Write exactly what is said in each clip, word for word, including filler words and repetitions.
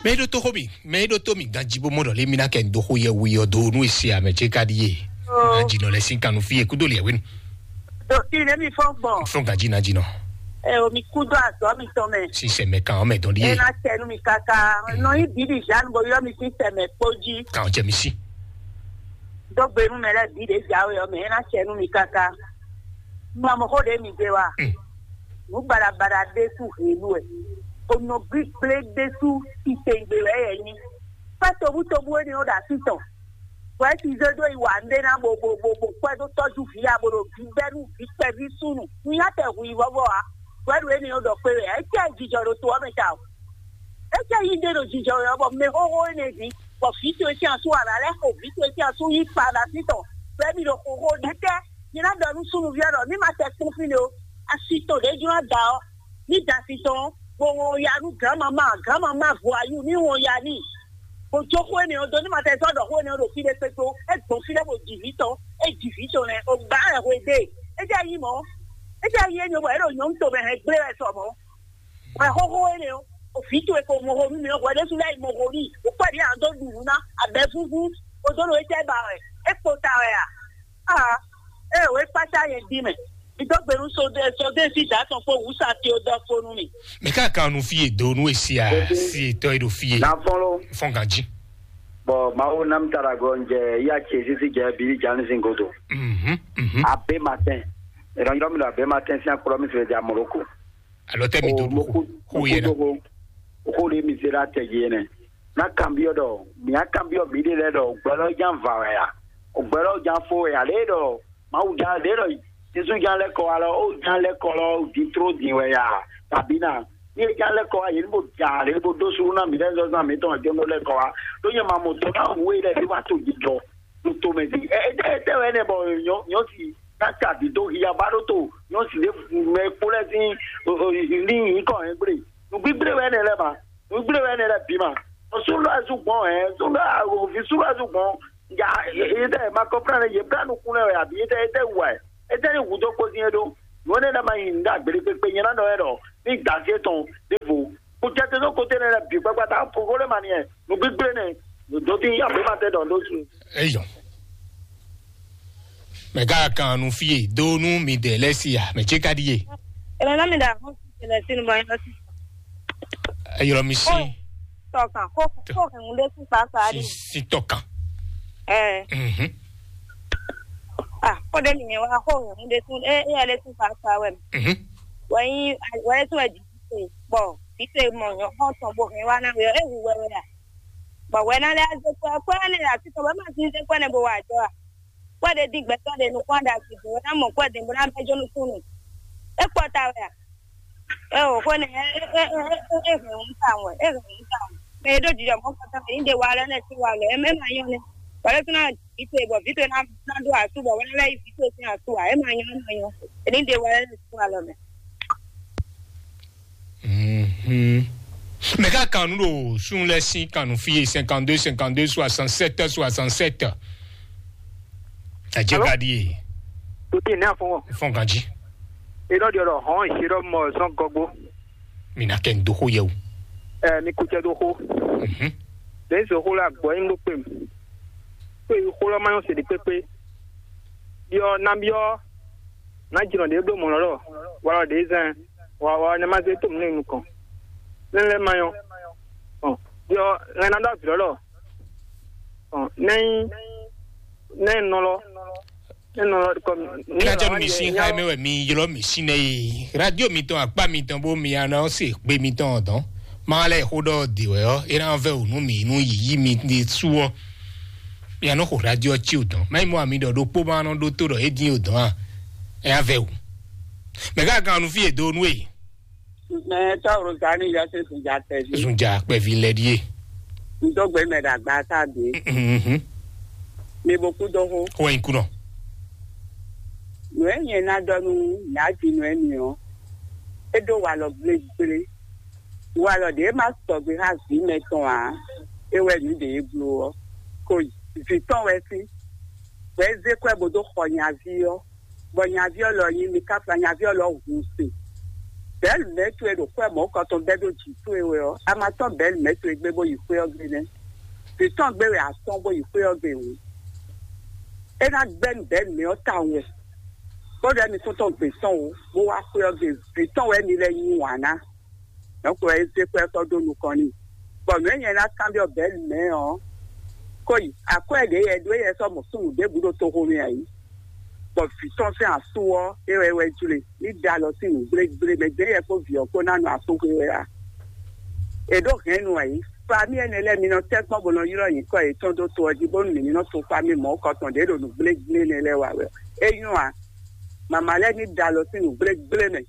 Mɛ ɖó tó xó mi, mɛ ɖó tó mi ganji bó mɔ ɖɔ lé mi ná kɛ ndo xó yɛ wu yɔ do nú esi amɛ ce ka ɖi ye. Na dzi nɔ lɛ sin kanu fi ye kudo liɛ wenu. Dɔkítà, ne mi fɔn gbɔn. Fɔn ganji na dzi nɔ. Ɛ o, mi kudo azɔ mi tɔn mɛ. Sinsɛ mɛ kan mɛ dɔn ɖi ye. Ena tɛnu mi kaka. Nɔ yi bibi Jean bo yɔ mi sinsɛ mɛ kpó jí. Kan jɛ mi si. Dɔgbe nu mɛ lɛ bi ɖe jawe ɔ mɛ ena tɛnu mi kaka. Mɔ mɔ xó ɖe mi gbé wa. Nǔ baɖabaɖa ɖésú hělu wɛ. Onɔ gbígblé ɖésú titewungbe wɛ yɛ nyí. Kpɛ́ tobútobú énɛ́ ɔ́ ɖo así tɔn. Bɔ é ti zé dó yi wa nɖé ná bo bo bo bo kpɛ́ dó tɔ́jú vǐ ya bo ɖo vǐ bɛ́ nú vǐ kpɛví súnnu. Nú nyá tɛ hu yi vɔ́vɔ́ ǎ. Bɔ é ɖo énɛ́ ɔ́ ɖɔ kpé wɛ ǎ. É cɛ jijɔ ɖo to ɔ́ mɛ ta o. É cɛ yí ɖé ɖo jijɔ wɛ ɔ́, bɔ mɛ xóxó énɛ́ ví, bɔ vǐ towe sín asú wǎ ná lɛ́ xo vǐ towe sín asú yí kpa ɖo así tɔn. Bɔ é mi ɖo xóxó ɖɛkɛ. Mi ná ɖɔ nú súnnuví ɔ́ ɖɔ ní ma tɛ kpɔ́n fí nɛ o. Asi tɔn ɖě jló ná da ɔ́, ní da asi tɔn ɔ́, bó wɔn ya nú gǎnmamá, gǎnmamá vɔayú ní wɔn ya n'i. Bó jó xó énɛ́ ɔ́ dó ní ma tɛ zɔ́ ɖɔ xó énɛ́ ɔ́ ɖo fí ɖé kpékpé ó. É gbɔn fí lɛ́ɛ bó ji vǐ tɔn, é ji vǐ tɔn lɛ́ɛ, o gbǎ wɛ hwe ɖe. É jɛ nyí mɔ̌, é jɛ nyí énɛ́ bɔ é ɖo nyɔ̌nu tomɛ hɛn gblé wɛ sɔ mɔ̌. Wɛ xóxó énɛ́ ɔ́, o vǐ towe ko mɔ xó nú mi ɔ́, hwɛ ɖésú lɛ́ɛ yi mɔ xó n'i, o kpɛ́ ɖě a dó ɖu nǔ ná, abɛ vúvú, o dó ɖo é jɛ ba wɛ, é kpo ta wɛ a? Aa, ee, wě kpácá nyɛ dín mɛ. Mi dó gbe nú sodé sodé sí dǎ tɔn kpó wǔsá tí ó dɔ fó nú mi. Mɛ ká kan nu fie do nu esi a si etɔ e ɖo fie. Nafɔlɔ. Fɔn ganji. Bɔn mawu nam tara gɔ njɛ ya ce sisi jɛ bili jani sin godo. Mhm, mhm. Abe matin. Ìrànjọ́ mi lọ abe matin sin akplɔ mi sɛ di amoroko. Alɔ tɛ mi do du xo yɛ na. Xo ɖe mi se ɖe atɛ dzi enɛ. Na kanbyɔ ɖɔ mi a kanbyɔ mi ɖe lɛ ɖɔ gbɛlɔ jan va wɛ ya? Gbɛlɔ jan fo wɛ ya? Lɛ ɖɔ mawu jan lɛ ɖɔ Jesu jan lɛ kɔ wa lɔ o jan lɛ kɔ lɔ di tro din wɛ ya? Kabi na ni e jan lɛ kɔ wa yě ní bó ja lě bó dó suɖu ná mi lɛ zɔzɔn mi tɔn jɔnɔ lɛ kɔ wa. Ɖó nyɛ ma mɔ tɔ na wu e lɛ fi wa to jijɔ to to mɛ di. Ɛ ɛ tɛ wɛ nɛ bɔ nyɔ nyɔ si na ta di do hiya ba ɖó to nyɔ si ɖe mɛ kpo lɛ sin ní yǐ kɔ hɛn gble. Nǔgbígblé wɛ nɛ lɛ ma. Nǔgbígblé wɛ nɛ lɛ bǐ ma. Súnlɔ ɛ zú gbɔn ɛ súnlɔ ɛ òfin súnlɔ ɛ zú gbɔn. Ja, ete ma kɔmplan ne ye bla nukun lɛ wɛ abi ete ete wɛ ete ni wu dó kpózin e ɖó. Nǔ énɛ́ lɛ́ɛ ma nyi nǔ ɖagbe ɖé kpékpé nyɛ ná nɔ ɛ ɖɔ ní dasi etɔn ɖěvo. Kò jɛ te ɖó kote nɛ lɛ bǐ kpakpata kókó lé ma ni ɛ nǔgbígblé nɛ dó dín abématɛ ɖɔ ɖó su. Eyɔ. Mɛ ká kan nu fie do nu mi de lɛ si ya mɛ tse ka ɖi ye. Ɛmɛ na mi da fún ti lɛ sínú bɔ yín lọ sí. Eyɔ mi si. Tɔkan kó kó hɛn ɖé sí pàápàá si rí. Si tɔkan. Ɛ Mhm. Ah, kó ɖé mi yẹn wá kó hɛn ɖé sí ɛ ɛ lé sí pàápàá wɛ mi. Mhm. Wɛ yín wɛ yín sí wɛ jì sí bɔ fífẹ́ mọ̀ yàn kán tán bó hẹn wá náà wíwọ́ ẹ̀ wù wẹ́wẹ́ rà. Bọ̀ wẹ́ náà lẹ́ azé kú ẹ kú ẹ ní àti tọ̀ wẹ́ máa ti ń zé kú ẹ ní bó wà jọ à. Kú ẹ dé dín gbẹ́tọ́ dé nukún àdá sí bó wẹ́ náà mọ̀ kú ẹ dé bó náà bẹ́ jó nukún nù. É kpɔ ta wẹ́ à. Ẹ ò kó ní ẹ ẹ ẹ ẹ ẹ ẹ hẹn ń ta wẹ́ ẹ hẹn ń ta wẹ́. Mẹ e ɖó jijɔ mọ́ kọ́tà mẹ ní de wa lẹ́ nẹ sí wa lọ ẹ mẹ́ máa yán ni. Wà lẹ́ tún náà vǐ towe bɔ vǐ towe ná ná ɖó asú bɔ wẹ́ náà lẹ́ yí vǐ towe sín asú à ẹ máa yán ẹ máa yán. Ẹ ní de wa lẹ́ nẹ sí wa lọ mẹ́. Mhm. Mɛ ka kan nu ɖo sun lɛ sin kan nu fi ye cinquante-deux cinquante-deux soixante-sept soixante-sept. Adze Alo? Ka ɖi ye. Tòtí ní àfọwọ́. Fɔn ganji. Iná di ọ̀rọ̀ hàn ìṣeré ọmọ ọ̀sán gọgbó. Mi na kɛ n do xo yɛ o. Ẹ mi kú jẹ dó xó. Mhm. Lẹ́yìn sọ xó la gbọ́ yín ló pè mí. Pé xó lọ́ máa ń ṣèdí pépé. Biɔ na biɔ na jìnnà ɖě bló mɔ̌ lɔ́ wala ɖě zɛn wa wa ne ma zé tó mú nukɔn ne lɛ ma yɔ ɔ biɔ ŋɛ na ɖɔ vǐ lɔ́ ɔ nɛ nɛ nɔ lɔ nɛ nɔ lɔ kɔ Ina jɛ nu mi sin ha mɛ wɛ mi ylɔ mi sin nɛ ye. Radio mi tɔn akpa mi tɔn bo mi ana se gbe mi tɔn dɔn. Ma lɛ xo ɖɔ de wɛ ɔ ina vɛ o nu mi nu yiyi mi de su ɔ. Mi anɔ xo radio ci o dɔn. Ma yi mɔ ami ɖɔ ɖokpó ma nɔ ɖo to ɖɔ e din o dɔn a. Ɛ ya vɛ o. Mɛ ka kan nu fi e do nu e. Mɛ tɔwro zani ya se zunja tɛvi. Zunja kpɛvi lɛ die. N dó gbe mɛ ɖagba ta de. Mhm. Mi bo kú dó xó. Xó ɛ nyi kú nɔ. Nǔ e nyɛ ná ɖɔ nú Nǎjinɔ énɛ́ ɔ́, é ɖó walɔ gblégblé. Walɔ ɖě ma sɔgbe xá vǐ mɛtɔn ǎ, é wɛ nǔ ɖě e bló ɔ́. Ko vǐ tɔn wɛ sí, bɔ é zé kwɛ́ bó dó xɔ nyaví ɔ́, bɔ nyaví ɔ́ lɔ nyí Mikafla, nyaví ɔ́ lɔ hun se. Bɛ̌lu mɛ̌ towe ɖo xwé mɔ̌kɔtɔn bɛ́ ɖó jǐ towe wɛ ɔ́, a ma tɔ́n bɛ̌lu mɛ̌ towe gbé bó yi xwé ɔ́ gbe nɛ́. Vǐ tɔn gbé wɛ a tɔ́n bó yi xwé ɔ́ gbe hǔn, é ná gbɛ́ nú bɛ̌lu mɛ ɔ́ tawun wɛ, bó ɖɔ émí kún tɔn gbě tɔn o, bó wá xwé ɔ́ gbe. Vǐ tɔn wɛ mi lɛ́ yí wǎn ná. Nɔ̌ ko wɛ é zé xwé ɔ́ sɔ́ dó nukɔn n'i. Bɔ nǔ e nyɛ ná kanbyɔ́ bɛ̌lu mɛ ɔ́, kó yi akwɛ́ ɖě yɛ ɖó yɛ sɔ́ mɔ súnnu ɖěbǔ ɖo toxo mɛ ǎ yi. Bɔ vǐ tɔn sín asú ɔ́, é wɛ é wɛ jlé ní da alɔ sín nǔ gblégblémɛ, dě yɛ kpó vǐ ɔ́ kpó ná nɔ asúxwé wɛ a? È ɖó hɛ̌nnu ǎ yi. Famí ɛnɛ lɛ́ɛ mi nɔ tɛ́ kpɔ́n bó nɔ ylɔ́ nyǐkɔ yětɔn dó to ɔ́ jí, bónú mǐ ní nɔ to famí mɔ̌kɔtɔn ɖě ɖo nǔ gblégblénɛ lɛ́ɛ wa wɛ. É nyɔ́ a? Mama lɛ́ɛ ní da alɔ sín nǔ gblégblémɛ.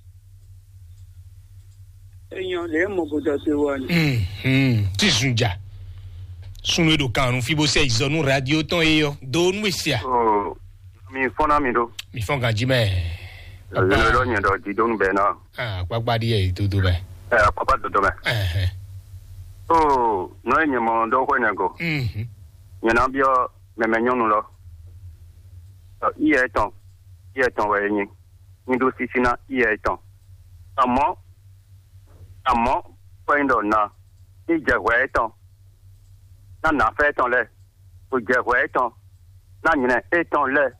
É nyɔ́ lě e mɔ bó dɔ te wɔ ni. Mhm. Tí zun ja. Sunu e ɖo kan nu fi bó sɛ izɔ nú radio tɔn e yɔ do nú esia. Oh, mi fɔn na mi ɖo. Mi fɔn ganji mɛ. Yɔyɔ lɔ nyɛ ɖɔ didonu bɛ na. Ah, kpakpa ɖi yɛ dodo mɛ. Ɛ, kpakpa dodo mɛ. Ɛhɛn. Oh, nɔ e nyɛ mɔ dɔ xɔ nyɛ go. Mhm. Nyɛ na biɔ mɛmɛ nyɔnu lɔ. Ɔ, iyɛ tɔn, iyɛ tɔn wɛ e nyi. Nyi ɖo sisi na iyɛ tɔn. Amɔ̌, amɔ̌, kɔ nyi ɖɔ na, ní jɛ hwɛ étɔn, ná nǎfɛ́ étɔn lɛ́ɛ, bó jɛ hwɛ étɔn, ná nylɛ étɔn lɛ́ɛ.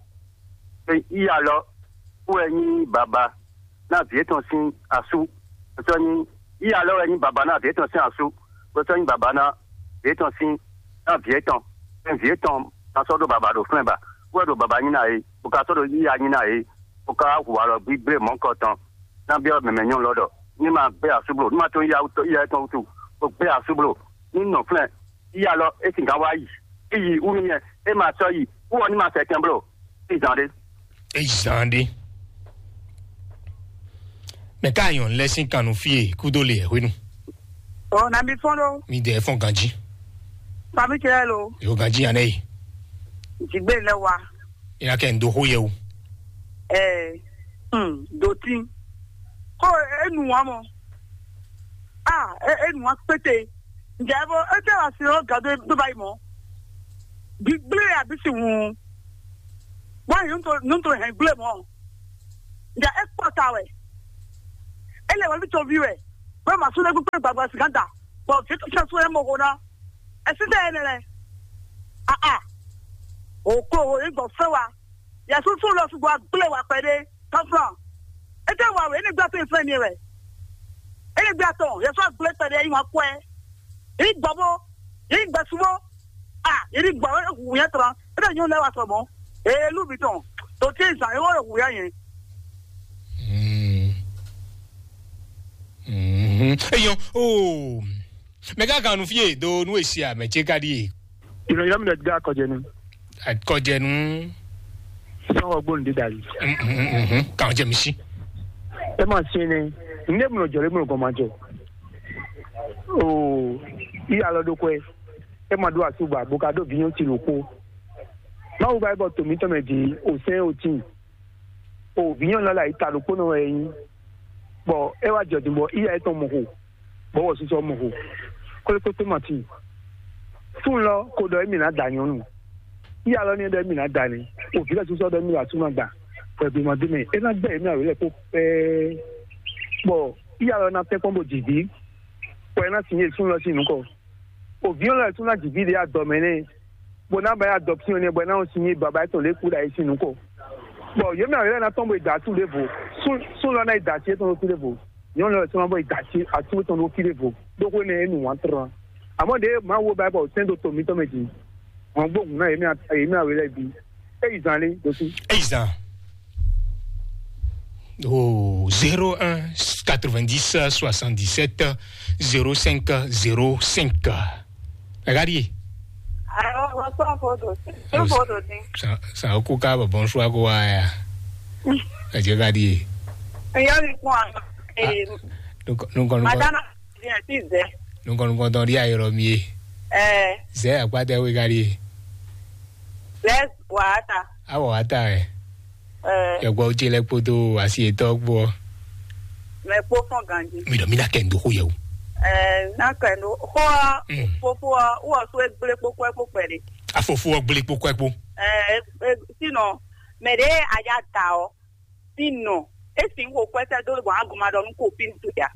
É yí alɔ, kú wɛ nyí baba ná vǐ étɔn sín asú, bó sɔ́ nyí, yí alɔ wɛ nyí baba ná vǐ étɔn sín asú, bó sɔ́ nyí baba ná vǐ étɔn sín, ná vǐ étɔn, é vǐ étɔn ná sɔ́ ɖó baba ɖo flɛ́n ba, kú wɛ ɖo baba nyí ná é, bó ka sɔ́ ɖo yíya nyí ná é, bó ka hu alɔ gbígbé mɔ̌kɔ tɔn, ná byɔ́ mɛmɛ nyɔ́nu lɔ ɖɔ, ní ma gbé asú bló, ní ma tó yá wútu, yá tɔn wútu, bó gbé asú bló, ní nɔ flɛ́n, yí alɔ é sixá wá yi, é yi wú nú nyɛ, é ma sɔ́ yi, wú ɔ ní ma sɛ kɛn bló, é zán ɖé. É zán ɖé. Mɛ ká nyɔ̌nu lɛ́ sín kan nú fí e kúdó le hwenu. Ɔ, na mi fɔn ɖo. Mi dɛ fɔn ganji. Fami cɛ lo. Yo ganji anɛ yi. Jigbe lɛ wa. Ina kɛ ndo ho yɛ o. Ɛ, hmm, doti. Ko enu wa mɔ. Ah, e, enu wa kpete. Njɛ bo e tɛ wa si ro gado do ba yi mɔ. Bi gble ya bi si wu. Wa yi nto nto hɛn gble mɔ. Njɛ e kpɔ ta wɛ. E lɛ wɛ bi to vi wɛ. Wɛ ma su ne gbegbe gbagba si ganta. Bɔ fi to sɛ su e mo ko na. E si tɛ e ne lɛ. Ah ah. O ko o e gbɔ fɛ wa. Yɛsu sú lɔ sugbɔ agblé wa kpɛɖé tɔ́flɔ́n. É tɛ wa wɛ, é ní gbá tó ìfẹ́ ni wɛ. É ní gbá tɔn, Yɛsu agblé kpɛɖé yí wọn kwɛ. Yí gbɔ bó, yí gbɛ sú bó. A, yí ní gbɔ wɛ hu yẹn tɔn. É tɛ nyɔ́ lɛ wa sɔ mɔ. Ee, lú mi tɔn. Tó tí zan é wọ́n hu yá yẹn. Mm. Mhm. Eyɔn, oh. Mɛ ká kan nu fie do nu esi a mɛ ce ka ɖi e. Ìròyìn mi lè gbé akọ̀jẹ̀nu. Akọ̀jẹ̀nu. Sọ́wọ́ gbóhùn dídà yìí. Kàn jẹ́ mi sí. Ẹ máa ṣe ni, ní èmi ò jọ̀rọ̀ èmi ò gàn máa jọ. Oo, ìyá lọ́dún kọ́ ẹ, ẹ máa dó àtúbà, bó ká dó bíyàn ti lò kó. Báwo bá ẹ bọ̀ tòmítọ́mẹ̀ di òsẹ́n òtí? O vǐ nyɔ̌nu lɔ lɛ ayǐta ɖokpónɔ wɛ é nyí, bɔ é wá jɔ din bɔ iya étɔn mɔ xo, bɔ wɔ susɔ mɔ xo. Kólékpékpé ma tíin. Súnnu lɔ ko ɖɔ émí ná da nyɔ̌nu. Iya lɔ ní ɖɔ émí ná da nɛ́. O vǐ lɔ susɔ ɖɔ émí wá súnnu agba, bɔ è bí ma dó mɛ. É ná gbɛ émí awě lɛ kpó pɛ́ɛ́. Bɔ iya lɔ ná tɛ́nkpɔ́n bó jǐ ví, bɔ é ná sin yé súnnu lɔ sín nǔkɔ. Òbí ɔ́ lɛ́ tún ná jǐ ví ɖě adɔ mɛ nɛ́, bó ná ba yi adɔ cyɔn nɛ́, bɔ é ná nɔ sin nyi baba étɔn lě kú ɖo ayé sín nukɔn. Bɔ yě mɛ awě lɛ́ɛ ná tɔ́n bó yi da asú ɖěvo, sún lɔ ná yi da así étɔn ɖó fí ɖěvo, nyɔ̌nu lɛ́ɛ tún ná bó yi da así asú étɔn ɖó fí ɖěvo, ɖó xó nɛ́ é nu wǎn tlɔ́n. Àmọ́ ɖěe Mawu ba bɔ sɛ́n dó to mǐtɔn mɛ jí, wọ́n gbóhùn ná yě mɛ awě lɛ́ɛ bǐ. É yi zan lé ɖo fí. Eyi zan. Oh, zéro un quatre-vingt-dix soixante-dix-sept zéro cinq zéro cinq. Regarde. Alors, bonsoir, Fodo. Bonsoir, Fodo. Sa, sa, o ko ka ba bonsoir ko wa ya. Ẹ jẹ́ ká di. Ìyá mi fún wa. Eh, nukɔ, nukɔ, nukɔ. Madame, bien, si, Zé. Nukɔ, nukɔ, tɔn di ayɔrɔ mi ye. Eh. Zé, akpata we ka di. Zé, wa ta. A wa ta, eh. Ɛ, yɔgbɔ ce lɛ kpodo asi etɔ gbɔ. Mɛ kpó fɔn ganji. Mi ɖɔ mi na kɛ ndo xo yɛ o. Ɛ, na kɛ ndo xo ɔ, fofo ɔ, wɔ so egble kpó kɔɛ kpó kpɛ ɖe. Afofo ɔ gble kpó kɔɛ kpó. Ɛ, ɛ, sinɔ mɛ ɖe aja da ɔ, sinɔ É sin xo kwɛ́ sɛ́ dó we bɔ a gɔn ma ɖɔ nú kopín towe ǎ.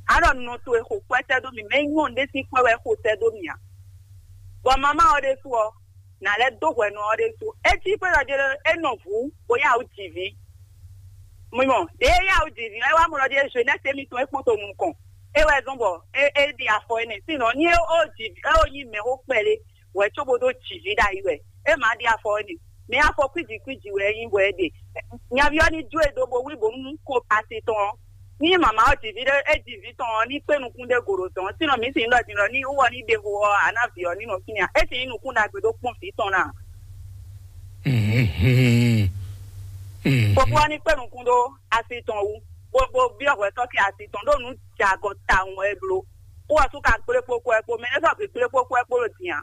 A ɖɔ nɔ towe xo kwɛ́ sɛ́ dó mì, mɛ nyɔ́ ɖé sín kwɛ́ wɛ xo sɛ́ dó mì ǎ. Bɔ mamá ɔ́ ɖésú ɔ́, nǎ lɛ́ dó hwɛ nɔ ɔ́ ɖésú. É cí xwé ɖɔ jɛ é nɔ vǔ bó yá wǔ jǐ vǐ. Mi mɔ, ɖě é yá wǔ jǐ vǐ ɔ́, é wá mɔ ɖɔ jɛ jeunesse émítɔn é kpɔ́n to nukɔn. É wɛ zɔ́n bɔ é é ɖi afɔ énɛ́. Sinɔ ní é ó jǐ é ó nyí mɛxó kpɛɖé wɛ cóbó dó jǐ vǐ ɖ'ayǐ wɛ, é má ɖi afɔ énɛ́. Mɛ afɔ kwíji kwíji wɛ é nyí bɔ é ɖe. Nyaví ɔ́ ní jó e dó bo wlí bǒ nú kó asi tɔn ɔ́. Ní mama ɔ́ ji vǐ ɖé é ji vǐ tɔn ɔ́, ní kpé nukún ɖé go ɖo dɔ̌n. Sínɔ mǐ sin ɖɔ din ɖɔ ní wú ɔ́ ní ɖe xo ɔ́, a ná vǐ ɔ́ ní nɔ fínɛ́ ǎ. É sin nyí nukún ɖagbe ɖó kpɔ́n vǐ tɔn ná. Mhm. Mhm. Fofó ɔ́ ní kpé nukún ɖó asi tɔn wú, bó bó byɔ́ hwɛtɔ́ kɛ asi tɔn ɖó nǔ jɛ agɔ tawun wɛ é bló. Wú ɔ́ sú ka kplé kpó kɔ ɛ kpó mɛ, é sɔ́ vǐ kplé kpó kɔ ɛ kpó ɖo din ǎ.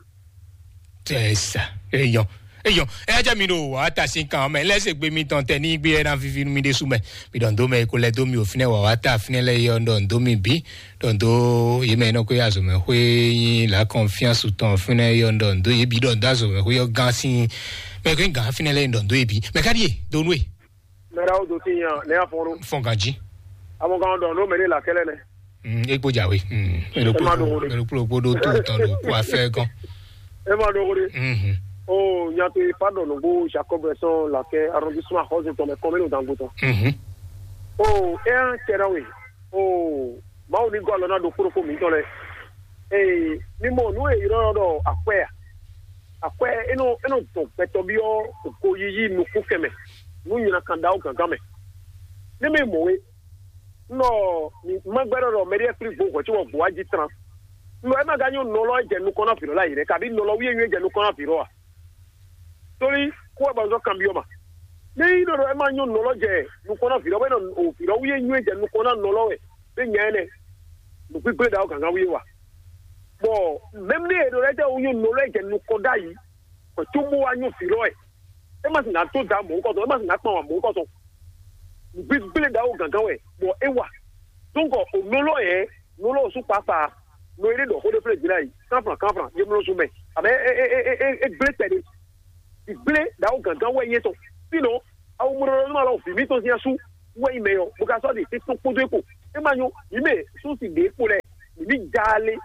Tɛ sa eyɔn eyɔn. Eya jẹ́ mi ɖo wàá ta sín kan mɛ lẹ́sẹ̀ gbé mi tán tẹ ní gbé ẹ ná vivi nú mi ɖésú mɛ. Mi ɖɔn dó mɛ ko lɛ dó mi ò fínɛ wàá ta fínɛ lɛ yɔ ɖɔn dó mi bí. Ɖɔn dó yé mɛ nɔ kó yá zɔmɛ xwé yín la confiance tɔn fínɛ yɔ ɖɔn dó yé bí ɖɔn dó azɔmɛ xwé yɔ gán sín. Mɛ kó gán fínɛ lɛ ɖɔn dó yé bí mɛ ká díye dó nú e. Mɛɖe awo do tin nya ne afɔn ɖo. Fɔn ganji. Amɔ kan dɔ no mɛɖe la kɛlɛ nɛ. Mm, e kpo jawe. Mm, e ɖo kpo E ma ɖo ɖo ɖe. E ɖo kpo ɖo to tɔn ɖo kó afɛ gɔn. E ma ɖo ɖe. Mhm. O nyatɔ ifa dɔ nugbo Jacob sɔn lakɛ arrondissement Hozo tɔn mɛ kɔmɛ no dango tɔn. Mhm. O e an tɛ na we. O Mawu ní gɔ́ alɔ ná ɖokpó ɖokpó mǐtɔn lɛ́ɛ. Ee, mi mɔ nǔ e è ylɔ́ ɖɔ akwɛ́ a? Akwɛ́ é nɔ é nɔ dɔn gbɛtɔ́ byɔ́ goyíyí nukúnkɛn mɛ, nú nyina kan ɖaxó gǎngán mɛ. Ní mi mɔ we, un ɖɔ ma gbɛ́ ɖɔ ɖɔ mɛɖé flí gbo hwɛ̌ cóbɔ gbǒ wá jí tlán. Un ɖɔ é ma ka nyɔ́ nɔlɔ e jɛ nukɔn ná vǐ lɔ lɛ́ɛ ǎ, kabí nɔlɔ wíyé nyɔ́ e jɛ nukɔn ná vǐ lɔ ǎ. Tóli kó wɛ ba zɔ kanbyɔ́ ma. Ní nyí ɖɔ ɖɔ é ma nyɔ́ nɔlɔ jɛ nukɔn ná vǐ lɔ, bɔ é nɔ o vǐ lɔ wíyé nyɔ́ e jɛ nukɔn ná nɔlɔ wɛ, é nya énɛ́, nǔgbígbé ɖaxó gǎngán wíyé wa. Bɔ mɛmlé e ɖo lɛ́ɛ tɛ wú nyɔ́ nɔlɔ e jɛ nukɔn ɖ'ayǐ, bɔ cóbó wá nyɔ́ vǐ lɔ wɛ. É ma sì ná dó da mɔ̌hunkɔtɔn, é ma sì ná kpan wǎ mɔ̌hunkɔtɔn. Nǔgbígbé ɖaxó gǎngán wɛ, bɔ é wa. Donc o nɔlɔ yɛ, nɔlɔ sú kpakpa, nɔ e ɖe ɖɔ xó ɖé flé jǐ ná yi, kánflán kánflán, yé mlɔ́ sú mɛ. Abɛ é é é é é gblé kpɛɖé. Ìgblé ɖaxó gǎngán wɛ nyí étɔn. Fínɔ, awu mlɔlɔnú alɔ vǐ mítɔn sín asú wɛ nyí mɛ ɔ́, bó ka sɔ́ ɖi tɛ́ntɔn kpódó é kpo. É ma nyɔ́, mǐ mɛ súnsi ɖě kpo lɛ́ɛ, mǐ ní ja alé,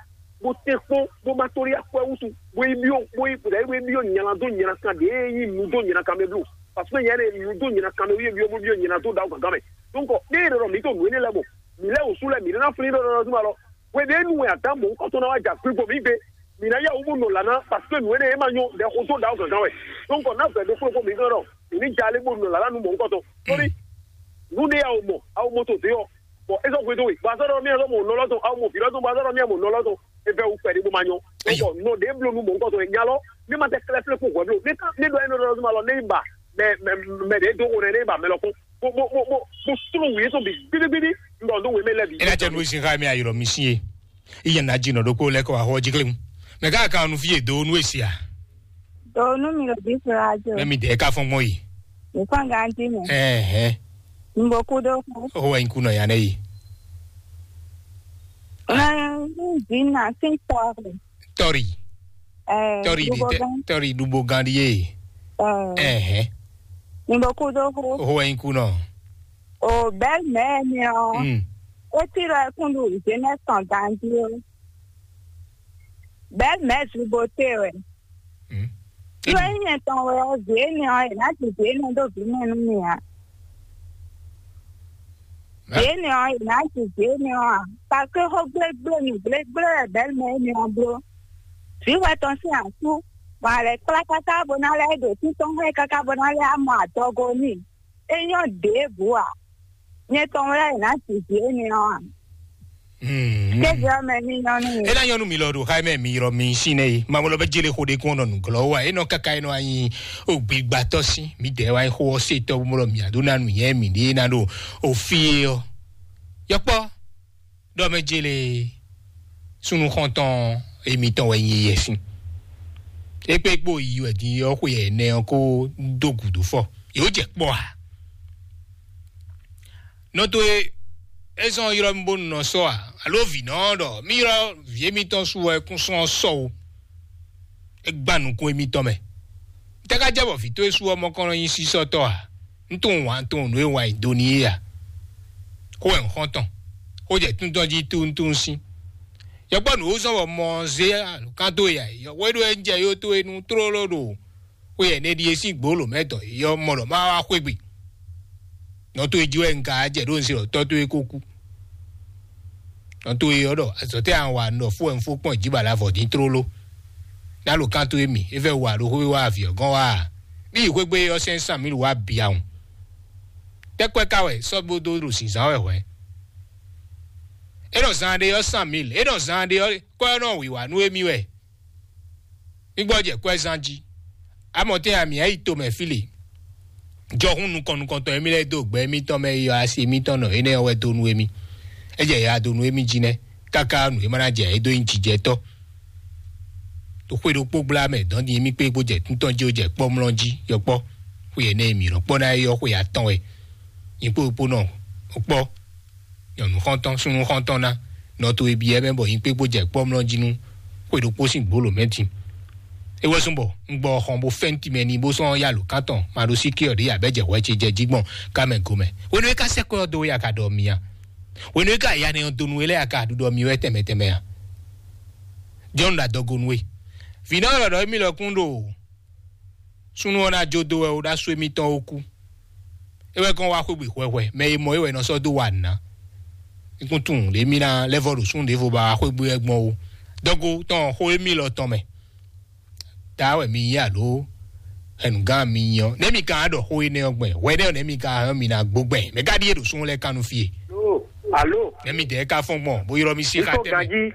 bó tɛ́n kpɔ́n, bó ma tóli akwɛ́ wútu, bó yi byɔ́, bó yi bó yi byɔ́ nylá dó nylá kan ɖě e nyí nǔ dó nylá kan mɛ bló. Parce que nyɛ ɖe nǔ dó nylá kan mɛ wú yé byɔ́ bó byɔ́ nylá dó ɖaxó gǎngán mɛ. Donc, ɖé e ɖɔ ɖɔ mǐ to nǔ énɛ́ lɛ́ɛ mɔ, mǐ lɛ́ wǔ sú lɛ́ɛ, mǐ ɖó ná flín ɖɔ ɖɔ ɖɔ zún alɔ. Hwedɛ́nu wɛ Adǎmu mɔ̌hunkɔtɔn ná wá jɛ akwígbo mǐ gbe. Mǐ ná yá wǔ bó nɔ lǎ ná, parce que nǔ énɛ́ e ma nyɔ́ ɖɛ xó dó ɖaxó gǎngán wɛ. Donc ná vɛ̌ ɖokpó ɖokpó mǐ gán ɖɔ mǐ ní ja alé bó nɔ lǎ ná nú mɔ̌hunkɔtɔn. Tóli nǔ ɖé awo mɔ, awo mɔ to dě ɔ́, bɔ é sɔ́ hwedó we, bɔ azɔ́ ɖɔ mì azɔ́ mɔ nɔ lɔ́ tɔn, awo mɔ vǐ lɔ́ tɔn, bɔ azɔ́ ɖɔ mì mɔ nɔ lɔ́ tɔn, é vɛ́ wú kpɛɖé bó ma nyɔ́. Ayɔ. Bɔ nɔ ɖě bló nú mɔ̌hunkɔtɔn wɛ nya lɔ, ní ma tɛ klɛ́ flé kpó hwɛ̌ bló. Ní ká ní ɖɔ énɛ́ ɖɔ zún ma lɔ, ní yi ba mɛ mɛ mɛ ɖě dó xo nɛ́, ní yi ba mɛ lɔkún. Bó bó bó bó bó slú wǔ yétɔn bǐ gbídígbídí, un ɖɔ dó wě mɛ lɛ́ɛ bǐ. Ena tɛ nu sin xa mi ayɔ mi sin ye. Iye na dzi nɔ ɖokpó lɛ kɔ axɔ dzi klem. Mɛ ka ka nu fi ye do nu esi a? Do nu mi ɖo bi fla jo. Mɛ mi de ka fɔn gbɔn yi. Mi fɔn ganti mɛ. Ɛhɛ. N bo ku do ku. O wa in ku nɔ ya ne yi. Na dzi na sin tɔ. Tɔri. Eh, tɔri de tɔri dubo gan di ye. Eh. Ɛhɛ. N bo ku do ku. O wa in ku nɔ. O belle-mère mi o. Mm. O ti lɔ kun du jeunesse tɔn ganti o. Belle-mère du beauté wɛ. Mm. Lɔ nyɛ tɔn wɛ o vie ni o, e na ti vie ni do vi mɛ nu mi a. Vie ni o, e na ti vie ni o a. Parce que xó gblégblé mi gblégblé wɛ belle-mère mi o blo. Vǐ wɛ tɔn sín asú. Bɔ a lɛ kplá káká bó ná lɛ́ ɖo títɔn xá ɛ káká bó ná lɛ́ mɔ adɔgo n'i. É nyɔ́ ɖěbǔ ǎ. Nyɛ tɔn wɛ ná ji vǐ énɛ́ ɔ́ ǎ. Kéze ɔ́ mɛ ní nyɔ́ nú mi. É ná nyɔ́ nú mi lɔ ɖo xá mɛ mi ylɔ́ mi sín nɛ́ e. Mamɔ lɔ bɛ jele xo ɖé kún ɔ́ nɔ nǔglɔ́ wa. É nɔ káká é nɔ anyi ó gbígbátɔ́ sín. Mǐdɛɛ wá xó ɔ́ se tɔ́ bó mɔ lɔ mǐ adó ná nǔ nyɛ mǐ ɖé ná ɖo òfin é ɔ́. Yɔkpɔ́ ɖɔ mɛ jele súnnu xɔntɔn émítɔn wɛ nyi yɛ sín. Ékpé kpó yi wɛ din ɔ́ xwe ɛnɛ ɔ́ kó dó gǔdo fɔ. Yě wó jɛ kpɔ́ a? Nɔ towe é zɔn ylɔ́ mì bónú nɔ sɔ́ a? Alo vǐ nɔ ɖɔ mì ylɔ́ vǐ émítɔn su wɛ kún sɔ́ ɔ́ sɔ́ o. É gbá nukún émítɔn mɛ. Tɛ ká jɛ bɔ vǐ towe su ɔ́ mɔ kɔn nɔ nyi sísɔ́tɔ́ a? Un tunwun wǎn tunwun nǔ e wǎn nyi do n'i é a? Xó wɛ un xɔ́n tɔn. Xó jɛ tún tɔn jí túntún sín. Yɔkpɔ́ nǔ ó zɔ́n bɔ mɔ zé alɔkán dó ya. Yɔkpɔ́ é ɖó é jɛ yó tó é nú tlóló ɖo xó yɛ nɛ ɖíe sín gbǒ lǒ mɛ tɔn. Yɔ mɔ ɖɔ má wá xwé gbe. Nɔ tó é jí wɛ un ka jɛ ɖó un se ɖɔ tɔ́ tó é kó kú. Nɔ tó é ɔ́ ɖɔ azɔ̌ tɛ́ an wa un ɖɔ fó wɛ un fó kpɔ́n jǐ ba la vɔ dín tlóló. Ná lǒ kán tó é mi, é fɛ wa ɖo xwé wá avǐ ɔ́ gɔ́n wá a? Bí yi xwé gbé ɔ́ sɛn sán mǐ ɖo wá bǐ awun. Tɛ́kpɛ́ ka wɛ sɔ́ bó dó ɖo zǐnzán wɛ hwɛ̌? É nɔ zán ɖé ɔ́ sán mǐl, é nɔ zán ɖé ɔ́ kɔ́ ɔ́ nɔ wǐwá nú émí wɛ. Mí gbɔ́ jɛ kwɛ́zán jí. Amɔtɛn amǐ yi tomɛ fí le. Jɔhún nukɔn nukɔntɔn émí lɛ́ɛ dó gbɛ émítɔn mɛ yi asi émítɔn nɔ énɛ́ ɔ́ wɛ dó nú émí. É jɛ ya dó nú émí jí nɛ́, káká nǔ e ma ná jɛ é dó nyí jijɛtɔ́. To xwé ɖokpó gbla mɛ dɔn din émí kpé bó jɛ tún tɔn jí ó jɛ kpɔ́ mlɔ́ jí yɔkpɔ́. Xwe énɛ́ e mǐ nɔ kpɔ́ ná é ɔ́ xwe atɔn wɛ. Nyí kpó kpó nɔ kpɔ́. Nyɔ̌nu xɔ́ntɔn, súnnu xɔ́ntɔn ná nɔ to e byɔ́ mɛ bɔ nyí kpékpó jɛ kpɔ́ mlɔ́ jí nú xwe ɖokpó sín gbǒ lǒ mɛ din. É wɛ zɔ́n bɔ un gbɔ xɔn bó fɛ́n timɛ n'i bó sɔ́ yá lǒ kántɔn ma ɖó sí ké ɔ́ ɖě abɛ́ jɛ hwɛ ce jɛ jí gbɔn ká mɛ gomɛ. Hwenu e ka sɛ́ kɔ́ ɔ́ dó wɛ a ka ɖɔ mì a? Hwenu e ka ya nɛ ɔ́ donu we lɛ́ɛ a ka ɖuɖɔ mì wɛ tɛnmɛ tɛnmɛ a? Jɔ́n ɖo adɔgo nú we. Vǐ nɔ lɔ ɖɔ émí lɔ kún ɖo súnnu ɔ́ ná jó dó wɛ ó ɖó asú émítɔn ó kú. É wɛ kɔn wá xwégbè hwɛhwɛ, mɛ e mɔ é wɛ nɔ sɔ́ dó wa nǔ ná. Nukúntún lě mí ná lɛ́ vɔ ɖo súnnu ɖěvo ba wá xwégbè wɛ gbɔn ó. Dɔgo tɔn xó émí lɔ tɔn mɛ. Ta wɛ mi nyí alo hɛnugán mi nyí ɔ́, nɛ̌ mi ka ɖɔ xó énɛ́ ɔ́ gbɛn? Hwɛ nɛ́ ɔ́ nɛ̌ mi ka hɛn mi ná gbó gbɛn? Mɛ ka ɖíe ɖo súnnu lɛ́ɛ kannu fí e? Alo, alo, Nɛ̌ mi dɛ̌ ka fɔ́n gbɔn bó ylɔ́ mi sí xá ifɔ tɛ́ mɛ? Ganji,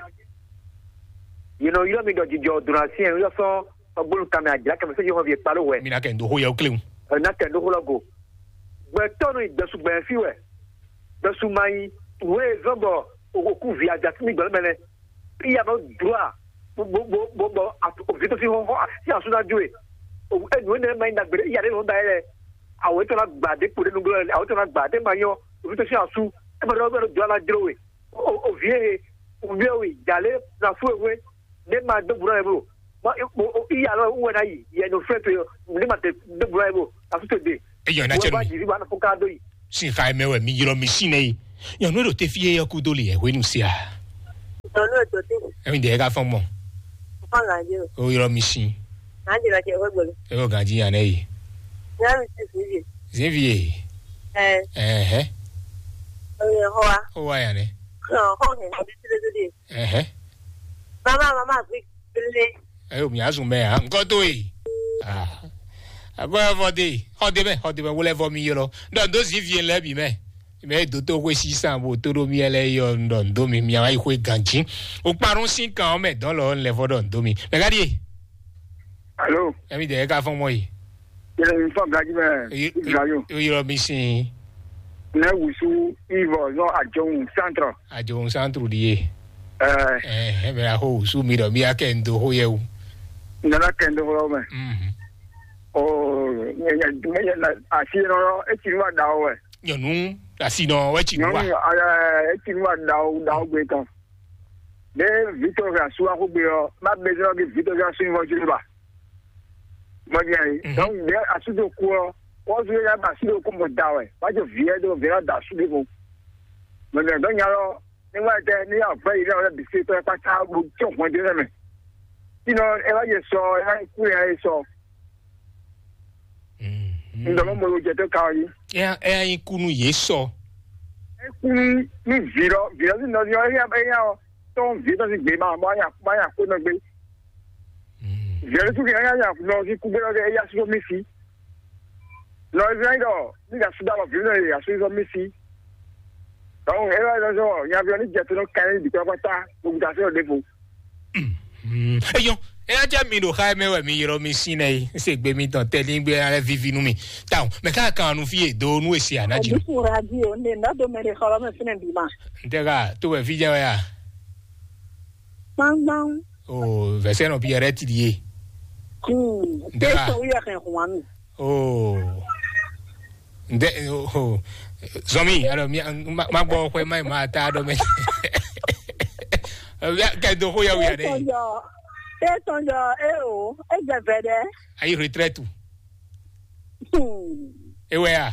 yě nɔ ylɔ́ mi ɖɔ jijɔ dona sí ɛ yɔ sɔ́ ɔgbónu kanmɛ ajlǎ kɛmɛ sɛ́ Yehowa ví e kpá ló hwɛ. Mi ná kɛ ndo xó yɛ ó kléwún. Ɛ ná kɛ ndo xó lɔ go. Gbɛtɔ́ nɔ nyi gbɛsu gbɛn fí wɛ. Gbɛsu ma nyi wé e zɔ́n bɔ òkú ví ajá sí mi gbɛlú mɛ nɛ. Iya nɔ dro a bó bó bó bó bɔ òfin tó sí hɔn hɔn sí asú ná jó e. Enu énɛ́ ma nyi ɖagbe ɖé iya ɖé nɔ ba yɛ lɛ. Awɔ etɔn ná gbà dé kpo ɖé nugblɔ awɔ etɔn ná gbà dé ma nyɔ òfin tó sí asú. Ɛ ma ɖɔ bɛ ɖo dro a ná jló we. O o vi e o vi e o yi jalè na fún ewé. Ne ma dó búrọ́ yɛ bro. Ma o o iya lɔ wɛ na yi yɛ no fẹ́ to yɔ ne ma tɛ dó búrọ́ yɛ bro. Asu to de. Eyɔ na cɛ Wɛ ba mi. Jiri ba na fún ká dó yi. Sin xa mɛ wɛ mi ylɔ mi sin nɛ yi. Nyɔnu ɖo te fi yɛ kú dó li yɛ hwenu sia. Nyɔnu ɖo te. Emi de ka fɔn mɔ. Fɔn la jɛ. O ylɔ mi sin. Na jira cɛ wɛ gbɛlu. Eyɔ ganji yan nɛ yi. Ya mi si fi ye. Zin fi ye. Ɛ. Ɛhɛ. O yɛ hɔ wa. O wa yan nɛ. Hɔn hɔn hɛ. Ɛhɛ. Mama mama gbe. Ele. Ayo mi azun mɛ a nkɔ to yi. Ah. Agora vɔ de. Xɔ de mɛ, xɔ de mɛ wole vɔ mi yɔlɔ. Dɔ do zi vie lɛ bi mɛ. Mɛ do to xwe sisan bo to ɖo mi lɛ yɔ dɔ do mi mi ayi xwe ganji. O kparun sin kan mɛ dɔn lɔ lɛ vɔ dɔ do mi. Mɛ ka di. Alo. Emi de ka fɔn mɔ yi. Yɛlɛ mi fɔ gaji mɛ. Gajo. O yɔrɔ mi sin. Ne wusu ivɔ zɔn ajɔhun santrɔ. Ajɔhun santru ɖi ye. Ɛɛ. Ɛɛ ɛmɛ axo wusu mi ɖɔ mi akɛ ŋdo xo yɛ wu. Nana kɛ ŋdo xo mɛ. Mhm. O nyɛ nyɛ nyɛ na asi nɔ eti nu wa da o wɛ. Nyɔnu asi nɔ wɛ ti nu wa. Nyɔnu ɛɛ eti nu wa da o da o gbe tɔn. Ne Victor ga su axo gbe ɔ ma bɛ zɔn ke Victor ga su ni wɔ jiri ba. Mɔdé ayi. Mhm. Donc, ɖe asu ɖo ku ɔ, wɔzu yɛ ba asu ɖo ku mɔ da wɛ, wa jɔ viɛ ɖo viɛ da asu ɖe ko. Mɔdé dɔ nya lɔ, ne wa tɛ ne ya vɛ yi ne wa bisi tɔ kpata bo tsɔ hɔn de ne mɛ. Sinɔ e wa yɛ sɔ e wa ku ya yɛ sɔ. Mhm. Ndɔmɔ mo lo jɛ to ka yi. Eya eya yi kunu ye sɔ. E ku ni ni vi lɔ vi lɔ si nɔ ni ɔ eya eya ɔ tɔn vi tɔn si gbe ma ma ya ma ya ko nɔ gbe. Vɛ̌ sú kɛ éyá nya nɔ ɔ́ sín kúgbéɖɔ kɛ éyá sú mì sí. Nɔ Izlayɛ́li ɖɔ ní ɖo asú ɖó alɔ vǐ nɔ e asú zɔ́ mì sí. Dɔnku é wá zɔ́ nya ví ɔ́ ní jɛ te nɔ kɛ ní bǐ kpákpátá gbogbo asú ɔ́ ɖěvo. Eyɔn, eya jẹ́ mi ɖo xa mɛ wɛ mi yrɔ mi sín nɛ yi. Ń se gbe mi tɔn tɛlí gbé alẹ́ vivi nú mi. Táwọn mɛ ká kan nu fi yé do nú èsì ànájì. Àdínkù radio ní ìnádó mẹ́rin xɔlọ́ mẹ́ fínẹ̀ bí ma. Ń tẹ́ ká tó wẹ̀ fi jẹ́ wẹ́ yà. Gbangban. Oh, vɛsɛ nɔ Pierre ti die. Hmm. Ndé la. Eso uya kan huami. Oh. Ndé oh. Zomi, alors mi ma ma gbɔ ko ma ma ta do me. Ya ke do ko ya wi ade. Eso yo. Eso yo e o. E je vede. Ayi retraite. Hmm. É wɛ a?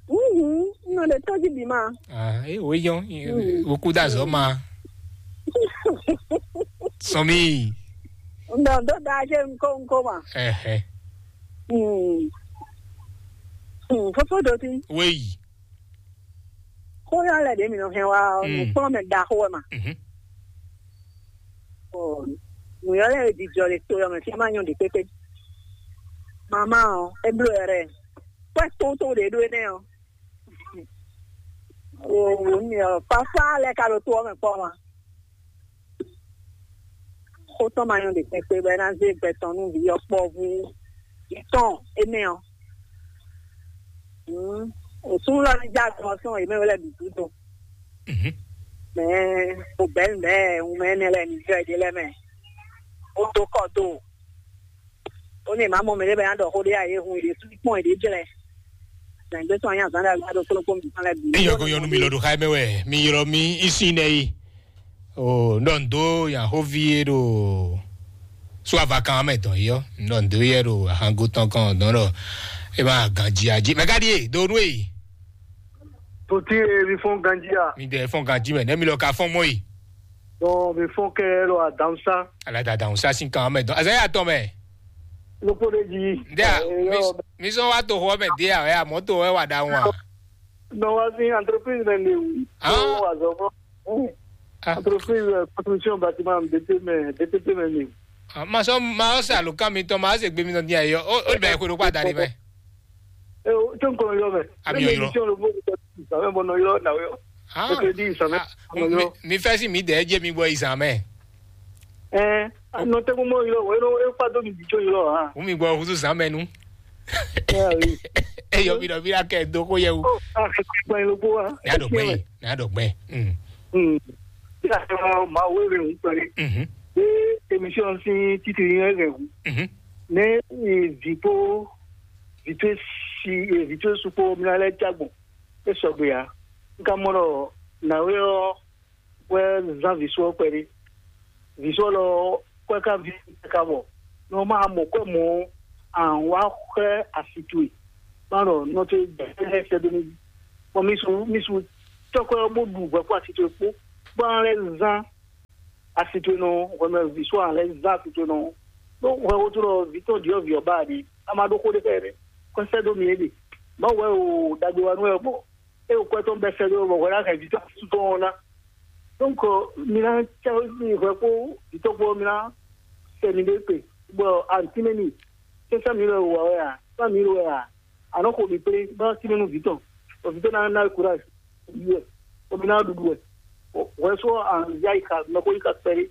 Mhm, un nɔ ɖe tɔ́ jí bǐ ma. Ah, é wǒ nyɔ́. Mm. Wokú dó azɔ̌ ma. Sɔn mì. Un nɔ dó da jɛ ŋkó ŋkó ma. Ɛhɛ. Mm. Mm, fofo ɖo tí. Wéyi. Xó yɔ lɛ ɖě mi nɔ hɛn wá ɔ́, Mm. nǔkplɔ́nmɛ ɖaxó wɛ ma. Mhm. Ɔ, nǔyɔ́ lɛ́ɛ jijɔ le to ɔ́ mɛ fí má nyɔ ɖě kpékpé. Mama ɔ́, é bló ɛ rɛ. Kwɛ́ tótó ɖě ɖó énɛ́ ɔ́. O, o, mi ɔ, papa lɛ ka ɖo to ɔ́ mɛ kpɔ́ ma. Xó tɔn ma nyɔ ɖě kpɛkpɛ bɔ é ná zé gbɛ tɔn nú vǐ ɔ́ kpɔ́vú tɔn énɛ́ ɔ́. Hmm, òsúnú lɔ ní já gbɔn sɔn yě mɛ wɛ lɛ bǐ dúdú. Mhm. Mɛ o bɛ̌ nǔ bɛ́ wun mɛ énɛ́ lɛ́ɛ ní jɔ yěɖée lɛ́ɛ mɛ. Ó dó kɔ do. Ó ní è má mɔ mɛ ɖé bɔ é ná ɖɔ xó ɖé ǎ, yě hun yě sú kpɔ́n yěɖée jlɛ́. Zǎngbé tɔn nyí azǎn ɖagbe ɖo kplɔ́nkplɔ́n mǐtɔn lɛ́ɛ bǐ. Eyɔ ko yɔnu mi lɔ ɖo xá mɛ wɛ mi ylɔ mi isi nɛ yi. O, nɔ ndo yan xóvi e ɖo so avakan mɛ dɔn yi ɔ, nɔ ndo yɛ ɖo ahango tɔn kan dɔn ɖɔ e ma ganji aji mɛ ka ɖi e do nu e. Toti e mi fɔn ganji a? Mi dɛ fɔn ganji mɛ ne mi lɔ ka fɔn mɔ yi. Dɔn mi fɔn kɛ lɔ adansa. Ala da adansa sin kan mɛ dɔn azaya tɔn mɛ. Lókpó ɖé jí. Ndé a, Eh, mi yɔ, mi sɔn wa to xɔ mɛ dé a wɛ a mɔto wɛ wa da ŋu a. Nɔ wá sí entreprise mɛ ni o. Ah. Nɔ wá zɔ fún. Ah. Entreprise euh, construction bâtiment B T mɛ B T P mɛ ni. Ah, ma sɔn ma sɔn sa lukán mi tɔn ma se gbé mi tɔn dín ayɔ o o bɛ ko ɖo kpa da ni mɛ. E o tó nǹkan yọ mɛ. Àmì ọ̀yọ́. Tí o lè mú ìgbà mẹ́ bọ̀ nọ yọ náà yọ. Ah. Ètò ìdí ìsàmẹ́. Ah, ọ̀nà yọ. Mi fẹ́ sí mi dẹ̀ ẹ́ jẹ́ mi gbọ́ ìsàmẹ́. Ẹ nọ tẹ́kun mọ́ yọ wọ́n yọ ẹ fà tó mi dìjọ́ yọ hàn. Wọ́n mi gbọ́ ọkùnrin sàmẹ́ nu. Ẹ yọ mi dọ̀ bí lákẹ́ dókó yẹ wò. Ó a kẹ́kọ̀ọ́ ìgbà yẹn ló kó wa. Ní àdọ̀gbẹ́ yìí, ní àdọ̀gbẹ́. Mm. Bí a ṣe máa wéwèé ń pẹ̀lú Mhm. pé émission sí títì yẹn rẹ̀ wù Mhm. ní ìdìbò vìtú sí vìtú sùpò mìíràn lẹ́ jágbọ̀n é sɔgbe ǎ. N ka mɔ ɖɔ nǎwe ɔ́ wɛ zán vǐ só ɔ́ kpɛɖé. Vǐ só lɔ kwɛ́ ká ví ka bɔ nɔ má mɔ kwɛ́ mɔ ǎ wá xlɛ́ asi towe. Má ɖɔ nɔ towe jɛ lɛ́ sɛ́ dó mì jí. Bɔ mi su mi su cɔ́ kwɛ́ ɔ́ bó ɖu hwɛ kpó asi towe kpó, bó ná lɛ́ zán asi towe nɔ hwɛmɛ vǐ só ǎ lɛ́ zán asi towe nɔ. Ɖó hwɛ wótú ɖɔ vǐ tɔn ɖyɔ̌vǐ ɔ́ ba ɖi a ma ɖó xó ɖé xá ɛ nɛ́. Kɔ sɛ́ dó mi é ɖe. Mawu wɛ o ɖagbe wa nú wɛ bɔ é o kwɛ́ tɔn bɛ́ sɛ́ dó bɔ hwɛ ná hɛn vǐ tɔn asú tɔn ɔ́ ná. Donc mi ná cɛ mi hwɛ kpó vǐ tɔn kpó mi ná sɛ mi ɖé kpe bɔ antí mɛ mi sɛsɛ mi lɛ wɔ wɛ a sá mi lɛ wɛ a anɔ xo mi kplé bá sí mi nú vǐ tɔn bɔ vǐ tɔn ná ná courage yi wɛ bɔ mi ná ɖuɖu wɛ. Hwɛ só an ya yi ka mɛ ko yi ka kpɛɖé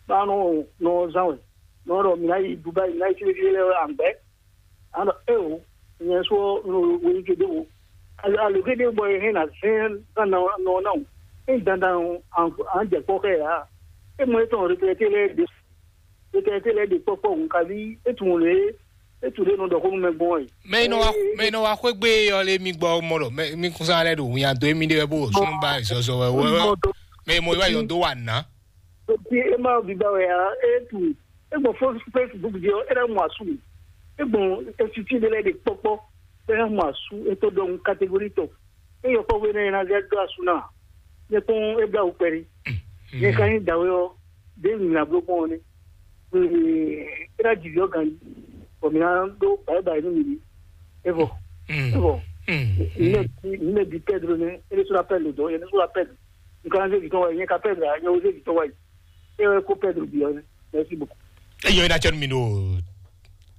bá nɔ nɔ zán wɛ nɔ ɖɔ mi ná yi Dubaï mi ná yi fífí lɛ wɛ an gbɛ. Ano eo nyɛ sɔ no weli ke ɖe o. Alo ke ɖe bɔ ye hɛn na zɛn na na na na o. E dandan an an jɛ kpɔ kɛ ya. E mɔ etɔn retraité lɛ de retraité lɛ de kpɔkpɔ nkavi e tun le e tun le no dɔ ko nu mɛ gbɔn ye. Mɛ yi nɔ wa mɛ yi nɔ wa xwegbe yɔ le mi gbɔ mɔ lɔ mɛ mi kun sa lɛ do wunya do emi de wɛ bo sunu ba zɔzɔ wɛ wɛ wɛ. Mɛ yi mɔ yi wa yɔ do wa na. Oti e ma bi ba wɛ ya e tu e gbɔn fo Facebook di ɔ e na mu asu mi e gbɔn esiti de lɛ de kpɔkpɔ e na mu asu e to dɔn catégorie tɔ e yɔ kpɔkpɔ e na yɛ na zɛ do asu na ne kpɔn e bla wò kpɛri ne ka nyi dawe ɔ de nyina blo kpɔn ne e na dzi vi ɔ gan bɔ mi na do bayi bayi nu mi di e vɔ e vɔ ne ne bi Pedro ne e de so la pɛlu dɔ e de so la pɛlu. Nkan zé vitɔn wáyé, nyɛ ka Pedro a, nyɛ wo zé vitɔn wáyé. E wɛ ko Pedro bi ɔ́, merci beaucoup. Eyɔ ina tsɔnu mi ɖo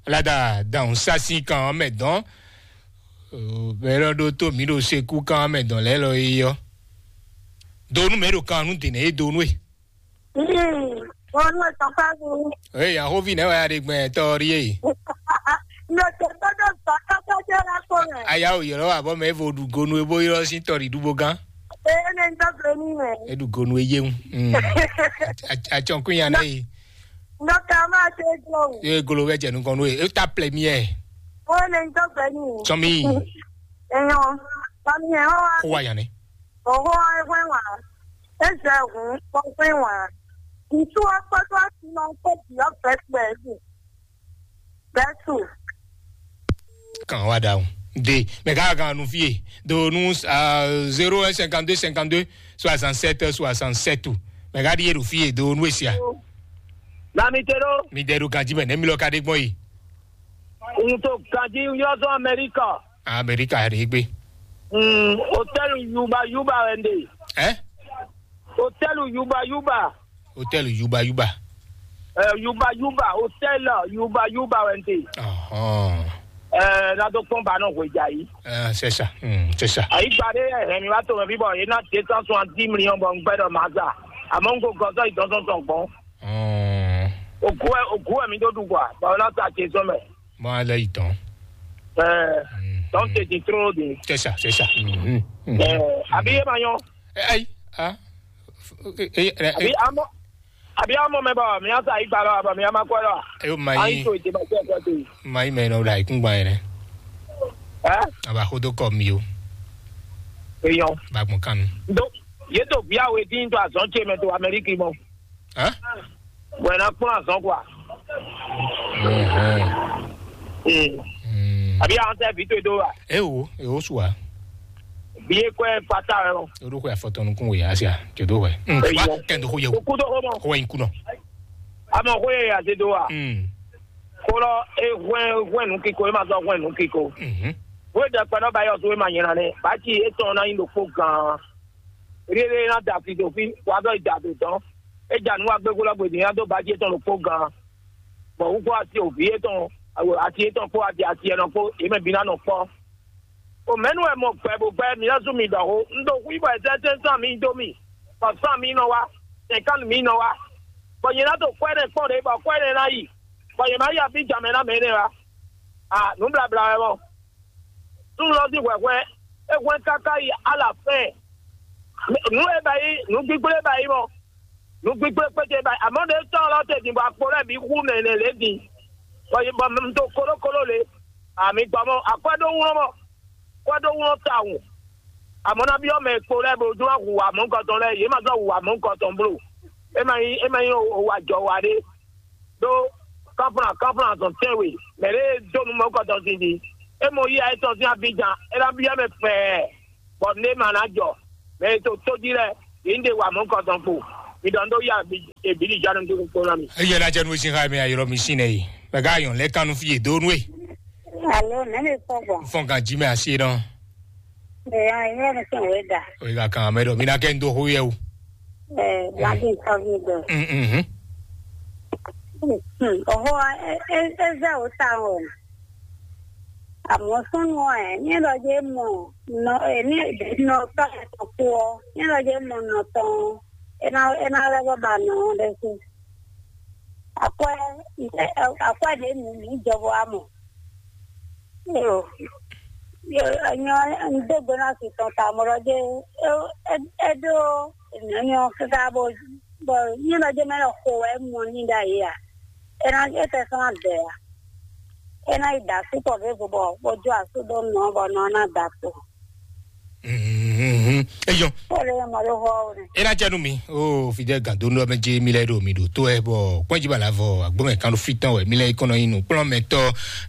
lada dan sasi kan mɛ dɔn. Bɛlɛ ɖo to mi ɖo seku kan mɛ dɔn lɛ lɔ yi yɔ. Donu mɛ ɖo kan nu dene ye donu e. Onu etɔn ka nu. Ee, ahovi nɛ wa ya ɖe gbɛ tɔ ri ye. Nɔ tɛ tɔ ɖo zɔn kɔkɔ jɛ la ko mɛ. Aya o yɔrɔ wa bɔ mɛ evo ɖu gonu ebo yɔrɔ sin tɔ ɖi ɖu bo gán. Ee, ne n tɔ gbe ni mɛ. Eɖu gonu eye ŋu. Atsɔnkun ya nɛ yi. Nɔ ka ma te jɔ o. Ee, golo bɛ jɛ nukɔn no ye. E ta plɛ mi yɛ. O ne n tɔ gbe ni. Sɔmi. Eyɔn, sɔmi yɛ hɔn wa. Ko wa yan ne. Oho wa ehwe wa. Ezɛ hun kpɔkpɛ wa. Ŋutsu wa kpɔtɔ asi ma kpɔ diɔ bɛtɛ. Bɛtu. Kan wa da o. De, mɛ ka gan nu fie do nu uh, zéro un cinquante-deux cinquante-deux soixante-sept soixante-sept. Mɛ ka ɖi ɖo fie do nu esia. Lamitero. Mi de ɖo ganji mɛ ne mi lɔ ka ɖe gbɔn yi. N to ganji yɔ zɔ Amerika. Amerika ɖe gbe. Mm, hotel Yuba Yuba wɛ n de. Eh? Hotel Yuba Yuba. Hotel Yuba Yuba. Eh, Yuba Yuba, hotel Yuba Yuba wɛ n de. Ɔhɔn. Eh, na do kpɔn ba nɔ hwe ja yi. Eh, c'est ça. Hmm, c'est ça. Ayi gba ɖe hɛn mi wá to mɛ bí bɔ yé ná deux cent soixante-dix millions bɔ n gbɛ ɖɔ ma za. Àmọ́ n ko gɔzɔ yi dɔn sɔn sɔn gbɔn. Hmm. Oku ɛ oku ɛ mi do du gwa. Ba wɛ na sa ce sɔn mɛ. Mɔ alɛ yi dɔn. Eh, donc c'est trop de. C'est ça, c'est ça. Mhm, mhm. Eh, abi ye ma yɔn. Eh, ayi, ah. Eh, eh, eh, Abi amɔ. Abi amɔ mɛ bɔ mi asa yi gbalɔ bɔ mi ama kɔ lɔ. Ayo ma Ayi yi. To ite ma kɔ kɔ to. Ma yi mɛ nɔ la ikun gba yɛrɛ. Eh? Aba hodo kɔ mi o. Eyɔn. Ba gbɔn kanu. Do ye to bia we din to azɔn ce mɛ to Amérique mɔ. Hein? Bɔn ɛ na kplɔn azɔn kɔ. Mhm. Mm. Mm. Abi an tɛ vi to do wa. Ewo, ewo sua. Bi e kɔ ɛ fata ɛ o. Oɖo xwe afɔtɔnukun we asia, jodo xwe. Mm, Eyi wa nɔ. Kɛndo xwe yewu. Oku do xo mɔ. Xwe in kunɔ. Amɔ xo ye ya se do wa. Mm. Kolɔ e hwɛn hwɛn nu kiko e ma sɔ hwɛn nu kiko. Mhm. Wo dɛ kpɛnɔ ba yɔ so e ma nyɛ na ne. Ba ci e tɔn na yin ɖo kpo gan. Rere na da fi do fi wa dɔ da do dɔn. E ja nu wa gbe kolɔ gbe din ya do ba ci e tɔn ɖo kpo gan. Bɔ wu kpo ati o vi e tɔn, ati e tɔn kpo ati ati e nɔ kpo e mɛ bi na nɔ kpɔ. O mɛnu wɛ mɔ gbɛ bo gbɛ mi lɛ́ sú mi ɖɔ xó. Un ɖo xwí bɔ è sɛ́ sɛ́nsán mi dó mì, bɔ sán mi nɔ wá, sɛ̌nkánu mi nɔ wá. Bɔ nyɛ ná to kwɛ́ nɛ́ kpɔ́n ɖě bɔ kwɛ́ nɛ́ ná yi, bɔ nyɛ má yi abíjan mɛ ná mɛ énɛ́ wá. A nǔ blabla wɛ mɔ. Súnnu lɔ sín hwɛhwɛ é hwɛ́n káká yi alafɛ́n. Nǔ e ba yi, nǔ gbígbó e ba yi mɔ, nǔ gbígbó e kpéte ba yi. Amɔ̌ ɖě tɔn lɔ te din bɔ akpo lɛ́ɛ bǐ xú nɛnɛ lě din. Bɔ bɔ un dó kólókóló lě. Ami gbɔ mɔ akwɛ́ ɖó wlɔ́n mɔ. Kwɛ́ ɖó wlɔ́n tawun. Amɔ̌ ná byɔ́ mɛ e kpo lɛ́ɛ bó dó wá hu amɔ̌kɔtɔn lɛ́ɛ, yě ma zɔ́ hu amɔ̌kɔtɔn bló. É ma nyí é ma nyí o wa jɔ wa ɖé. Ɖó kánflán kánflán azɔn tɛ́nwe mɛ ɖé e dó nú mɔ̌kɔtɔn sin din. É mɔ yí ayé tɔn sín abíjan, é ná byɔ́ mɛ fɛɛ, bɔ nǔ e ma ná jɔ. Mɛ e to tó jí lɛ́ɛ, yě ń ɖe wa mɔ̌kɔtɔn kpo. Mi ɖɔ ń ɖó yá èbílíjánú dúró kpó ná mi. Eye la jɛ nu sin xa mi ayɔrɔ mi sin nɛ yi. Mɛ ka yɔn lɛ kanu fi ye do nu e. Alo, nɛ mi kpɔ gbɔn. Fɔn kan ji mɛ asi dɔn. Ɛ, ya, ya, mi sɛn we da. O yi ka kan mɛ dɔ mi na kɛ n do ho yɛ o. Ɛ, wa di nǹkan mi dɔ. Mm, mm, mm. Hmm, ọ̀họ́ ẹ ẹ ẹ zẹ́ ò ta ọ̀. Àmọ́ súnú ẹ̀ ní ìlọ́jẹ́ mọ̀ nọ ẹ̀ ní ìdènà ọ̀tọ̀ ẹ̀ tó kú ọ ní ìlọ́jẹ́ mọ̀ nọ tán ẹ̀ náà ẹ̀ náà lẹ́gbọ́n bá nà ọ́ lẹ́sìn. Akwɛ akwɛ ɖe nu mi jɔbɔ amɔ. Yo yo enyo ndegbe na si tɔn ta mɔ ɖɔ je e ɖo enyo kaka bo bo nyi ɖɔ je mɛ lɔ xo wɛ mɔ ni ɖa yi a. Ena e tɛ sɔn adɛ a. Ena yi da su kɔ ve vo bɔ bo jo asu do nɔ bɔ nɔ na da to. Mhm. Eyɔn. Pɔle ma ɖo xɔ o ne. Ena jɛ nu mi o fidɛ gado nɔ mɛ je mi lɛ ɖo mi ɖo to ɛ bɔ kpɔnji ba la vɔ agbɔmɛ kan ɖo fi tɔn wɛ mi lɛ kɔnɔ yin nu kplɔn mɛ tɔ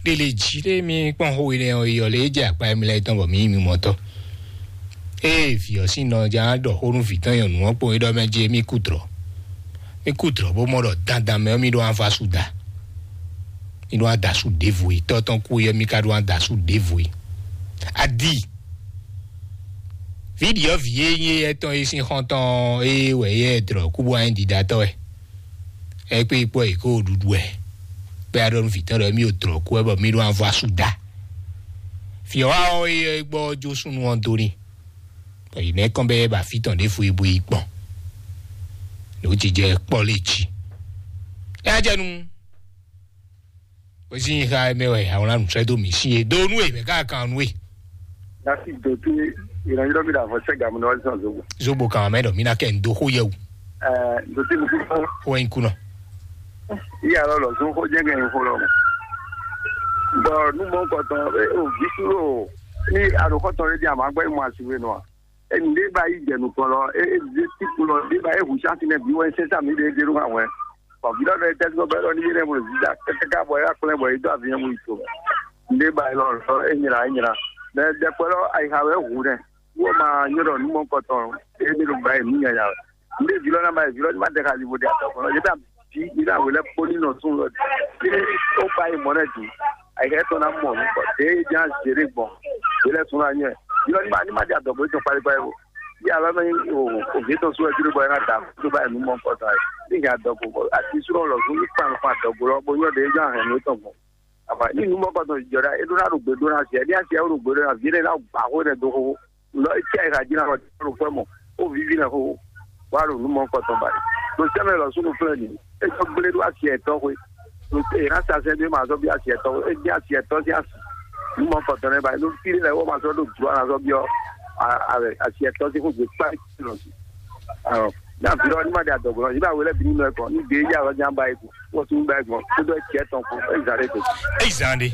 ɖe le ji ɖe mi kpɔn xo yi ne o yɔ le jɛ akpa mi lɛ tɔn bɔ mi yi mi mɔ tɔ. Ee vi ɔ sin nɔ ja ɖɔ xo nu vi tɔn yɔ nu ɔ kpɔn yi ɖɔ mɛ je mi ku drɔ. Mi ku drɔ bó mɔ ɖɔ dandan mɛ ɔ mi ɖo ava su da. Mi ɖo ada su ɖevo yi tɔ tɔn ku yɛ mi ka ɖo ada su ɖevo yi. Adi. Viɖiɔ vǐ e nyí etɔn e sín xɔ́ntɔn e wɛ yɛ drɔ̌ kú bó wá nyí ɖiɖatɔ́ wɛ. Ɛ kpé kpɔ́ è kó ɖuɖu wɛ. Kpé aɖɔ nú vǐ tɔn ɖɔ émí ɖo drɔ̌ kú wɛ bɔ mí ɖó avɔ asú da. Vǐ ɔ́ wá ɔ́ é gbɔ jó súnnu ɔ́ dó n'i. Bɔ yě nɛ́ kɔn bɛ́ bɔ afí tɔn ɖěvo e bo yi gbɔn. Nǔ jijɛ kpɔ́ lé jí. Ɛ jɛ nu. Bó sí nyi xá mɛ wɛ àwọn lánàá sɔ́ dó mǐ sí e dó nú e mɛ ká kan nú e. Nasi dote ìrànlọ́wọ́ mi là fọ́ sẹ́gà mi lọ́wọ́ sísan zogbo. Zogbo kan mɛ dɔ mi na kɛ n do xó yɛ o. Ɛɛ dote mi kú fún. Xó yín kú nɔ. Iya lɔ lɔ zun xó jẹ́ kẹ́ n xó lɔ mɔ. Bɔn nu mɔ kɔtɔn o vi suro ni alokɔtɔn lé di àmọ́ agbẹ́ mɔ àsìwé nɔ a. Eni ɖé ba yi jɛ nukɔn lɔ, e e ɖé ti kun lɔ, ɖé ba e hu chance nɛ bi wɛ sɛn sa mi ɖe ɖe ɖo hàn wɛ. Bɔn vi lɔ ɖe tɛsí bɛ lɔ ni yé nɛ mo zida kɛkɛ bɔ ya kplɛ bɔ yi dɔ avi yɛ mo yi to. Ɖé ba yi lɔ lɔ e nyra e nyra. Mɛ ɖɛkpɛ lɔ ayixa wɛ hu nɛ. Wɔ ma nyɔ ɖɔ nú mɔ kɔtɔn. E mi ɖo ba yi nú nyanya. Nde vi lɔ na ba yi vi lɔ ni ma ɖe ka li bo ɖe atɔ kɔnɔ. Yɛ ta bi yɛ ta wele kpo ni nɔ sun lɔ. Ye o ba yi mɔ nɛ du. Ayixa tɔ na mɔ nu kɔ. De ja zere gbɔn. Wele sun na nyɛ. Yɔ ni ma ni ma ɖe adɔ bo tɔ kpali kpali o. Yɛ alɔ mɛ o o vi tɔ sun lɔ jiri bɔ ɛ na da. To ba yi nú mɔ kɔtɔn. Ni nya adɔ ko. Ati sun lɔ sun ni kpan kpan adɔ ko lɔ bo nyɔ de ja hɛn nu tɔn gbɔn. Afa ni nu mɔ kɔtɔn jɔ ɖa e ɖo na ɖo gbe ɖo na sia ni asia o ɖo gbe ɖo na vi ɖe na gba xo ɖe do xo lɔ e tia e ka jí na xɔ ɖo fɛ mɔ o vivi na xo wa ɖo nu mɔ kɔtɔn ba ɖo sɛmɛ lɔ sunu flɛ ni e jɔ gble ɖo asia etɔ xwe ɖo e na sa sɛ ɖe ma zɔ bi asia etɔ xwe e bi asia etɔ si asi nu mɔ kɔtɔn ne ba ɖo fi ɖe lɛ wo ma sɔ ɖo dua na zɔ bi ɔ a a asia etɔ si xo gbe kpa lɔ si ɔ na vi lɔ ni ma ɖe adɔgbɔ lɔ yi ba wele bi ni nɔ ekɔ ni gbe ya lɔ jan ba yi ko wɔ tun ba yi gbɔn kó dɔ tiɛ tɔn ko e zan ɖe ko. Eyi zan ɖe.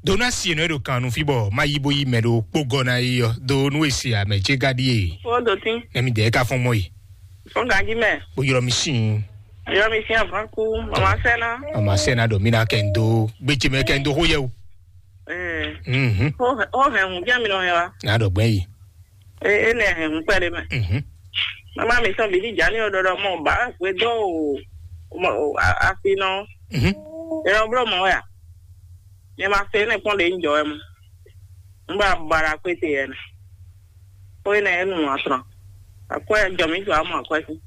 Dona si enɔ e ɖo kan nu fi bɔ ma yi bo yi mɛ ɖo kpogɔ na yi ɔ do nu e se amɛ ce ka ɖie. Wo do tin. Nɛ mi dɛ ka fɔn mɔ yi. Fɔn ganji mɛ. Bo yɔrɔ mi sin. Yɔrɔ mi sin avan ku. Mama sɛna. Mama sɛna ɖo mi na kɛ n do gbetse mɛ kɛ n do xo yɛ o. Ɛɛ. Mhm. O hɛn o hɛn hun jɛ mi nɔ hɛn wa. Na ɖɔ gbɛ yi. E e nɛ hɛn hun kpɛ ɖe mɛ. Mhm. Mama mi sɔn bidi jani o ɖɔɖɔ mɔ ba hwe do o mɔ o a- afi nɔ. Mhm. Erɔ blɔ mɔ ya. Nyɛ ma se ne kpɔn ɖe n jɔ wɛ mu. N ba bara kpete yɛ nɛ. Ko e nɛ e nu asrɔn. Akwɛ jɔ mi jɔ amɔ akwɛ si.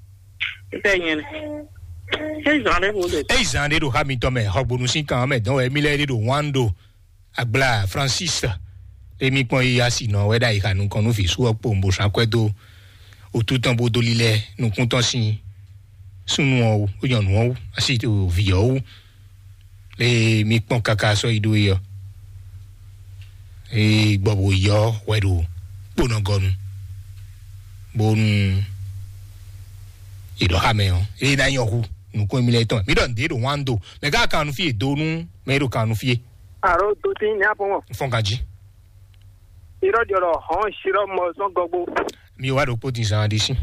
Ete nyɛ nɛ. E zan ɖe ko de. Eyi zan ɖe ɖo xa mitɔn mɛ xɔgbonu sín kan mɛ dɔn wɛ mi lɛ ɖe ɖo wan ɖo. Agbla Francis, emi kpɔn yi asi nɔ wɛ ɖo ayixa nukɔn nú vǐ sú ɔ́ kpowun bó sɔ́ akwɛ́ dó wútu tɔn bó dó lílɛ́ nukún tɔn sín súnnu ɔ́ wú, nyɔ̌nu ɔ́ wú, asi vǐ ɔ́ wú. Emi kpɔn káká sɔ́ yi ɖó é ɔ́, é gbɔ bó yi ɔ́ hwɛ ɖo kponɔgɔnu, bónú è ɖɔ xá mɛ ɔ́, é ná nyɔ hu nukún émí lɛ́ɛ tɔn. Mǐ ɖɔ nǔɖé ɖo wǎn do, mɛ ká kan nú fí e do nú mɛ e ɖo kan nú fí é. Alo, do tín ní a pɔn mɔ. Fɔn ganjí. Irɔ jɔ ɖɔ hɔn sirɔ mɔ sɔn gɔgbo. Mi wa ɖokpó din zan ɖe sí.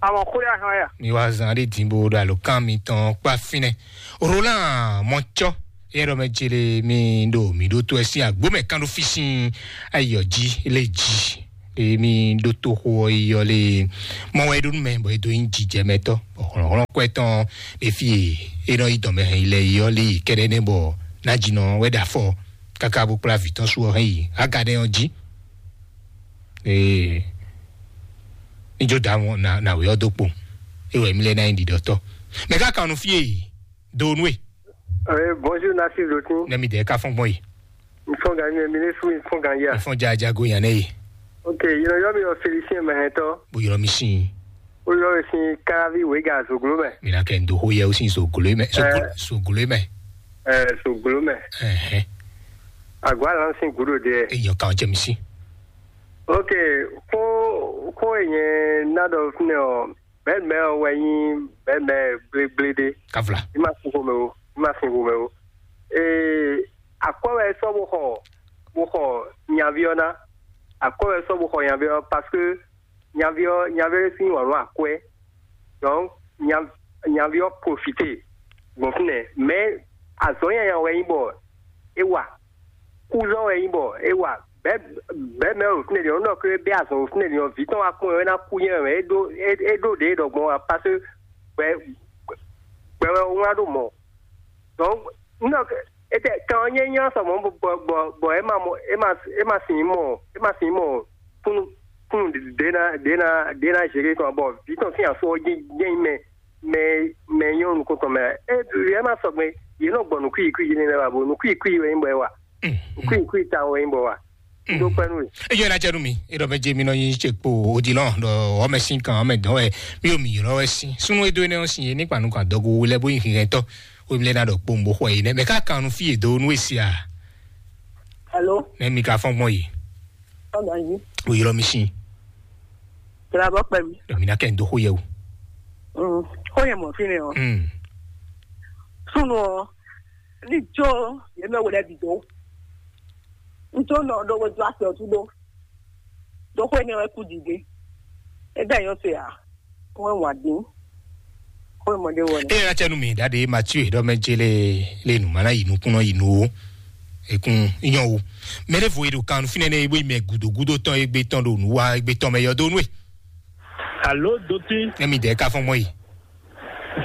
Àwọn kúrẹ́ ahọ́n yà. Mi wa zan ɖe din bo ɖo alo kan mi tɔn kpa fínɛ. Roland Mɔtsɔ, yɛ ɖɔ mɛ jele mi ɖo mi ɖo to ɛ sín agbo mɛ kan ɖo fi sín ayɔ jí lé jí. Emi ɖo to xo ɔ́ yi ɔ́ lé mɔ wɛ ɖo nú mɛ bɔ e do nyí jijɛmɛtɔ bɔ hlɔ̌nhlɔ́n kwɛ tɔn ɖe fí e é nɔ yi dɔn mɛ hɛn yi lɛ yi ɔ́ lé yi kɛɖɛ́ nɛ́ bɔ ná jinɔ wɛ ɖo afɔ káká bó kplá vǐ tɔn sú ɔ́ hɛn yi Agadɛn ɔ́ jí. Ee, ní jó da wọn na na wě ɔ́ dó kpo. É wɛ mí lɛ́ ná nyí ɖiɖɔtɔ́. Mɛ ká kan nú fí e do nú e. Eh, bonjour, Nasir Zotin. Nɛ mi dɛ ká fɔn gbɔn yi. N fɔn gan nyɛ, mi ne su, n fɔn gan ya. N fɔn ja jago yan ne yi. Ok, yɔrɔ yɔ mi yɔ Félicien mɛ hɛn tɔ. Bo yɔrɔ mi sin. O yɔ mi sin Karavi Wega Zoglo mɛ. Mi na kɛ n do ho yɛ o sin Zoglo mɛ. Zoglo, eh, Zoglo mɛ. Eh, Zoglo mɛ. Ɛhɛn. Agwa lan sin gudo de. E yɔ kan jɛ mi si. Ok, ko ko e nyɛ na dɔ fúnɛ ɔ, bɛɛ mɛ ɔ wɛ nyi bɛɛ mɛ gblégblé ɖé. Kavla. I ma sin xomɛ o, i ma sin xomɛ o. Ee, akwɛ wɛ sɔ bo xɔ bo xɔ nyavi ɔ ná. Akwɛ wɛ sɔ bo xɔ nyavi ɔ parce que nyavi ɔ nyavi ɔ sín wà lɔ akwɛ. Donc nya nyavi ɔ profité gbɔn fúnɛ. Mais azɔn yanya wɛ nyi bɔ e wa. Kúzɔ wɛ nyi bɔ e wa. Bɛɛ bɛɛ mɛ o fúnɛ ɖi ɔ nɔ kle bɛ azɔn o fúnɛ ɖi ɔ vi tɔn wa kpɔn ɛ na kú nyɛ mɛ e ɖo e ɖo ɖe ɖɔ gbɔn wa parce que gbɛ gbɛ wɛ o wá ɖo mɔ. Donc n nɔ etɛ kan ɔ́ nyɛ nyɔ sɔ mɔ bɔ bɔ bɔ e ma mɔ e ma e ma sin mɔ e ma sin mɔ kunu kunu ɖe na ɖe na ɖe na zere tɔn bɔ vi tɔn sin aso ɔ́ jɛ jɛ mɛ mɛ mɛ nyɔ nukun tɔn mɛ e e ma sɔgbe ye nɔ gbɔ nukui kui yi ne lɛ wa bo nukui kui wɛ nyí bɔ e wa nukui kui ta wɛ nyí bɔ wa do kpɛ nu. Eyo na jɛ nu mi eɖɔ mɛ jɛ mi nɔ yin tse kpo odilɔn ɖɔ ɔmɛ sin kan ɔmɛ dɔn wɛ mi o mi yɔrɔ wɛ sin sunu edo ene ɔn sin ye ne kpanu kan dɔgo wo lɛ bo yin hinhɛn tɔ wo mi lɛ na ɖɔ kpo nbo xɔ yi nɛ mɛ ka kan nu fi edo nu esi a. Alo. Ne mi ka fɔn gbɔn yi. Ɔgbɔn yi. O yɔrɔ mi sin. Tẹ̀lé abọ́ pẹ̀lú. Dɔnku mi na kɛ n do xo yɛ o. Xo yɛ mɔ fi ne o. Mm. Sunu o. Ní jó yẹn mɛ wòlɛ bì dó. Ntó nɔ ɖó wé dó asɛ ɔtú ɖó. Ɖó xwé ní wɛ kú dìde. Égbe yóò se à. Xwé wà dín. Xwé mɔdé wɔ ni. Eye na cɛ nu mi ɖaɖe Mathieu ɖɔ mɛ dze le le nu mana yi nukun nɔ yi nu o. Ekun nyɔ wo. Mɛ ɖé vo yi ɖo kan fínɛ́ nɛ ebo yi mɛ gudo gudo tɔn egbe tɔn ɖo nǔ wa egbe tɔn mɛ yɔ dó nú e. Alo doti. Emi dɛ ka fɔn mɔ yi.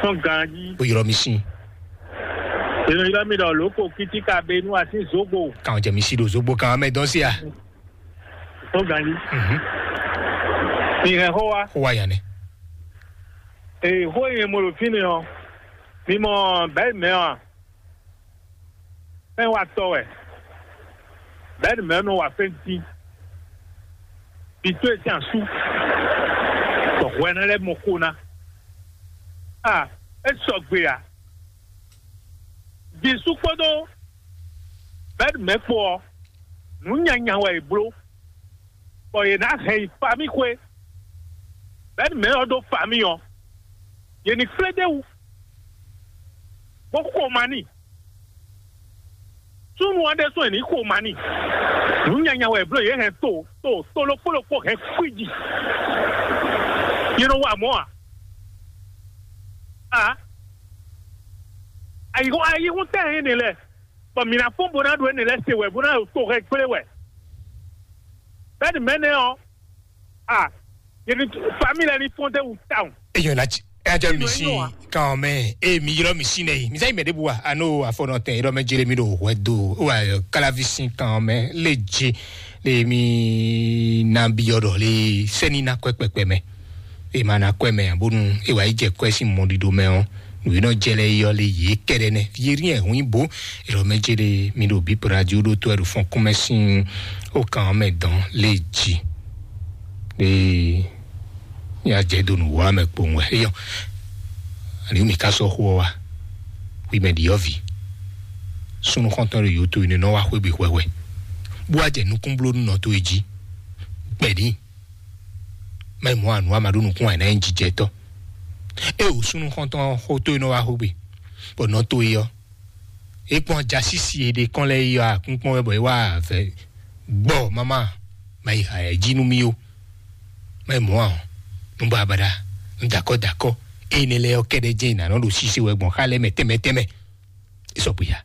Fɔn ganji. O yɔrɔ mi sin. Eno yɔrɔ mi ɖɔ loko kiti ka be nu asi zogbo. Kan jɛ mi si ɖo zogbo kan mɛ dɔn si a. Fɔn ganji. Mhm. Mi hɛn xó wa. Xó wa yan nɛ. Ee, xó yi mo ɖo fínɛ́ ɔ. Mi mɔ bɛɛ mɛ ɔ. Fɛn wa tɔ wɛ. Bɛ́ni mɛ nɔ wa fɛn dín. Bi tó e sín asú. Tɔ hwɛ ná lɛ́ mɔ xó ná. A, é sɔgbe a. Jisú kpódó bɛ́ni mɛ kpó ɔ́, nǔ nyanya wɛ è bló. Bɔ yě ná hɛn yi famí xwé. Bɛ́ni mɛ ɔ́ ɖó famí ɔ́, yě ní kplé d'é wú. Bó xo ma n'i. Súnnu ɔ́ ɖésú è nǐ xo ma n'i. Nǔ nyanya wɛ è bló yě hɛn to to to ɖokpó ɖokpó hɛn kwíji. Yě nɔ wa mɔ̌ a? A? Ayǐhɔ́n ayǐhɔ́n tɛ́ hɛn énɛ́ lɛ́ɛ, bɔ mǐ ná fɔ́n bó ná ɖo énɛ́ lɛ́ɛ se wɛ bó ná ɖo to hɛn gblé wɛ. Bɛ́ni mɛ̌nɛ ɔ́, a, yě ní família ní fɔ́n dé wú tawun. Eyɔn na ci. Ejɔ mi si kan mɛ, e mi ylɔ mi si nɛ yi mi sɛ yi mɛ de bu wa ano afɔnɔ tɛ ylɔ mɛ jele mi ɖo hwɛ do wa kalavi si kan mɛ le je le mi na bi yɔ ɖɔ le sɛni na kɔɛ kpɛkpɛ mɛ. E ma na kɔɛ mɛ bonu e wa yi jɛ kɔɛ si mɔ ɖiɖo mɛ ɔ, nu yi nɔ jɛ lɛ yɔ le ye kɛɖɛ nɛ ye ri ɛ hu bo ylɔ mɛ jele mi ɖo bi pradio ɖo to ɛ ɖo fɔn kɔmɛ si o kan mɛ dɔn le ji. Ee, ní a jɛ do nǔ wá mɛ kpowun wɛ. Eyɔ, ani mi ka sɔ́ xó ɔ́ wá? Wi mɛ ɖi ɔ́ vi. Súnnu xɔntɔn ɖo yǒto yi nɔ wá xwé gbe hwɛhwɛ, bó wá jɛ nukúnblónú nɔ towe jí. Gbɛ̌ ní. Má yi mɔ anu ama ɖó nukún wɛ ná nyí jijɛtɔ́. É wǒ súnnu xɔntɔn xó towe nɔ wá xwé gbe, bɔ nɔ towe ɔ́, é kpɔ́n jasísi e ɖe kɔn lɛ́ɛ yi ɔ́ akúnkpɔ́n wɛ bɔ é wá avɛ gbɔ mama ma yi ha ɛ jí nú mì ó. Má yi mɔ ǎ ɔ́, nú babaɖa, nú dakɔ dakɔ énɛ́ lɛ́ɛ ɔ́ kɛ́ɖɛ́ jɛ́n è nǎ nɔ ɖo sise wɛ gbɔn xá lɛ́ɛ mɛ tɛnmɛ tɛnmɛ. É sɔgbe ya.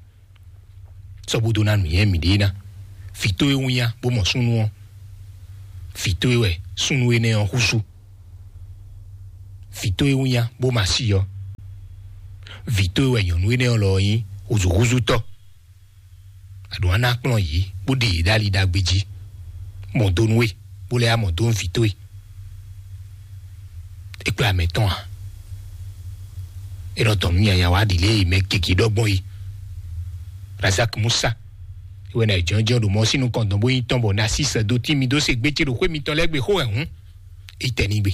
Sɔgbe dó ná nǔnywɛ́ mǐɖée ná. Vǐ towe wínnyá bó mɔ súnnu ɔ́. Vǐ towe wɛ súnnu énɛ́ ɔ́ húzú. Vǐ towe wínnyá bó ma sí ɔ́. Vǐ towe wɛ nyɔ̌nu énɛ́ ɔ́ lɔ nyí húzúhúzútɔ́. Aɖǒ ná kplɔ́n yě bó ɖe yě ɖ'ali ɖagbe jí. Mɔ dó nú we, bó lɛ́ yá mɔ dó nú vǐ towe. É kplá mɛ tɔn a? É nɔ tɔn nú nyanya wá ɖi lě e mɛ gěgé ɖɔ gbɔn é. Razak Musa, é wɛ ná jɔnjɔn ɖo mɔ sín nukɔn dɔn bó nyí tɔn bɔ ná sí sɛ dó tí mi dó se gbé ce ɖo xwé mitɔn lɛ́ɛ gbe xó wɛ hǔn. É tɛ ní gbe.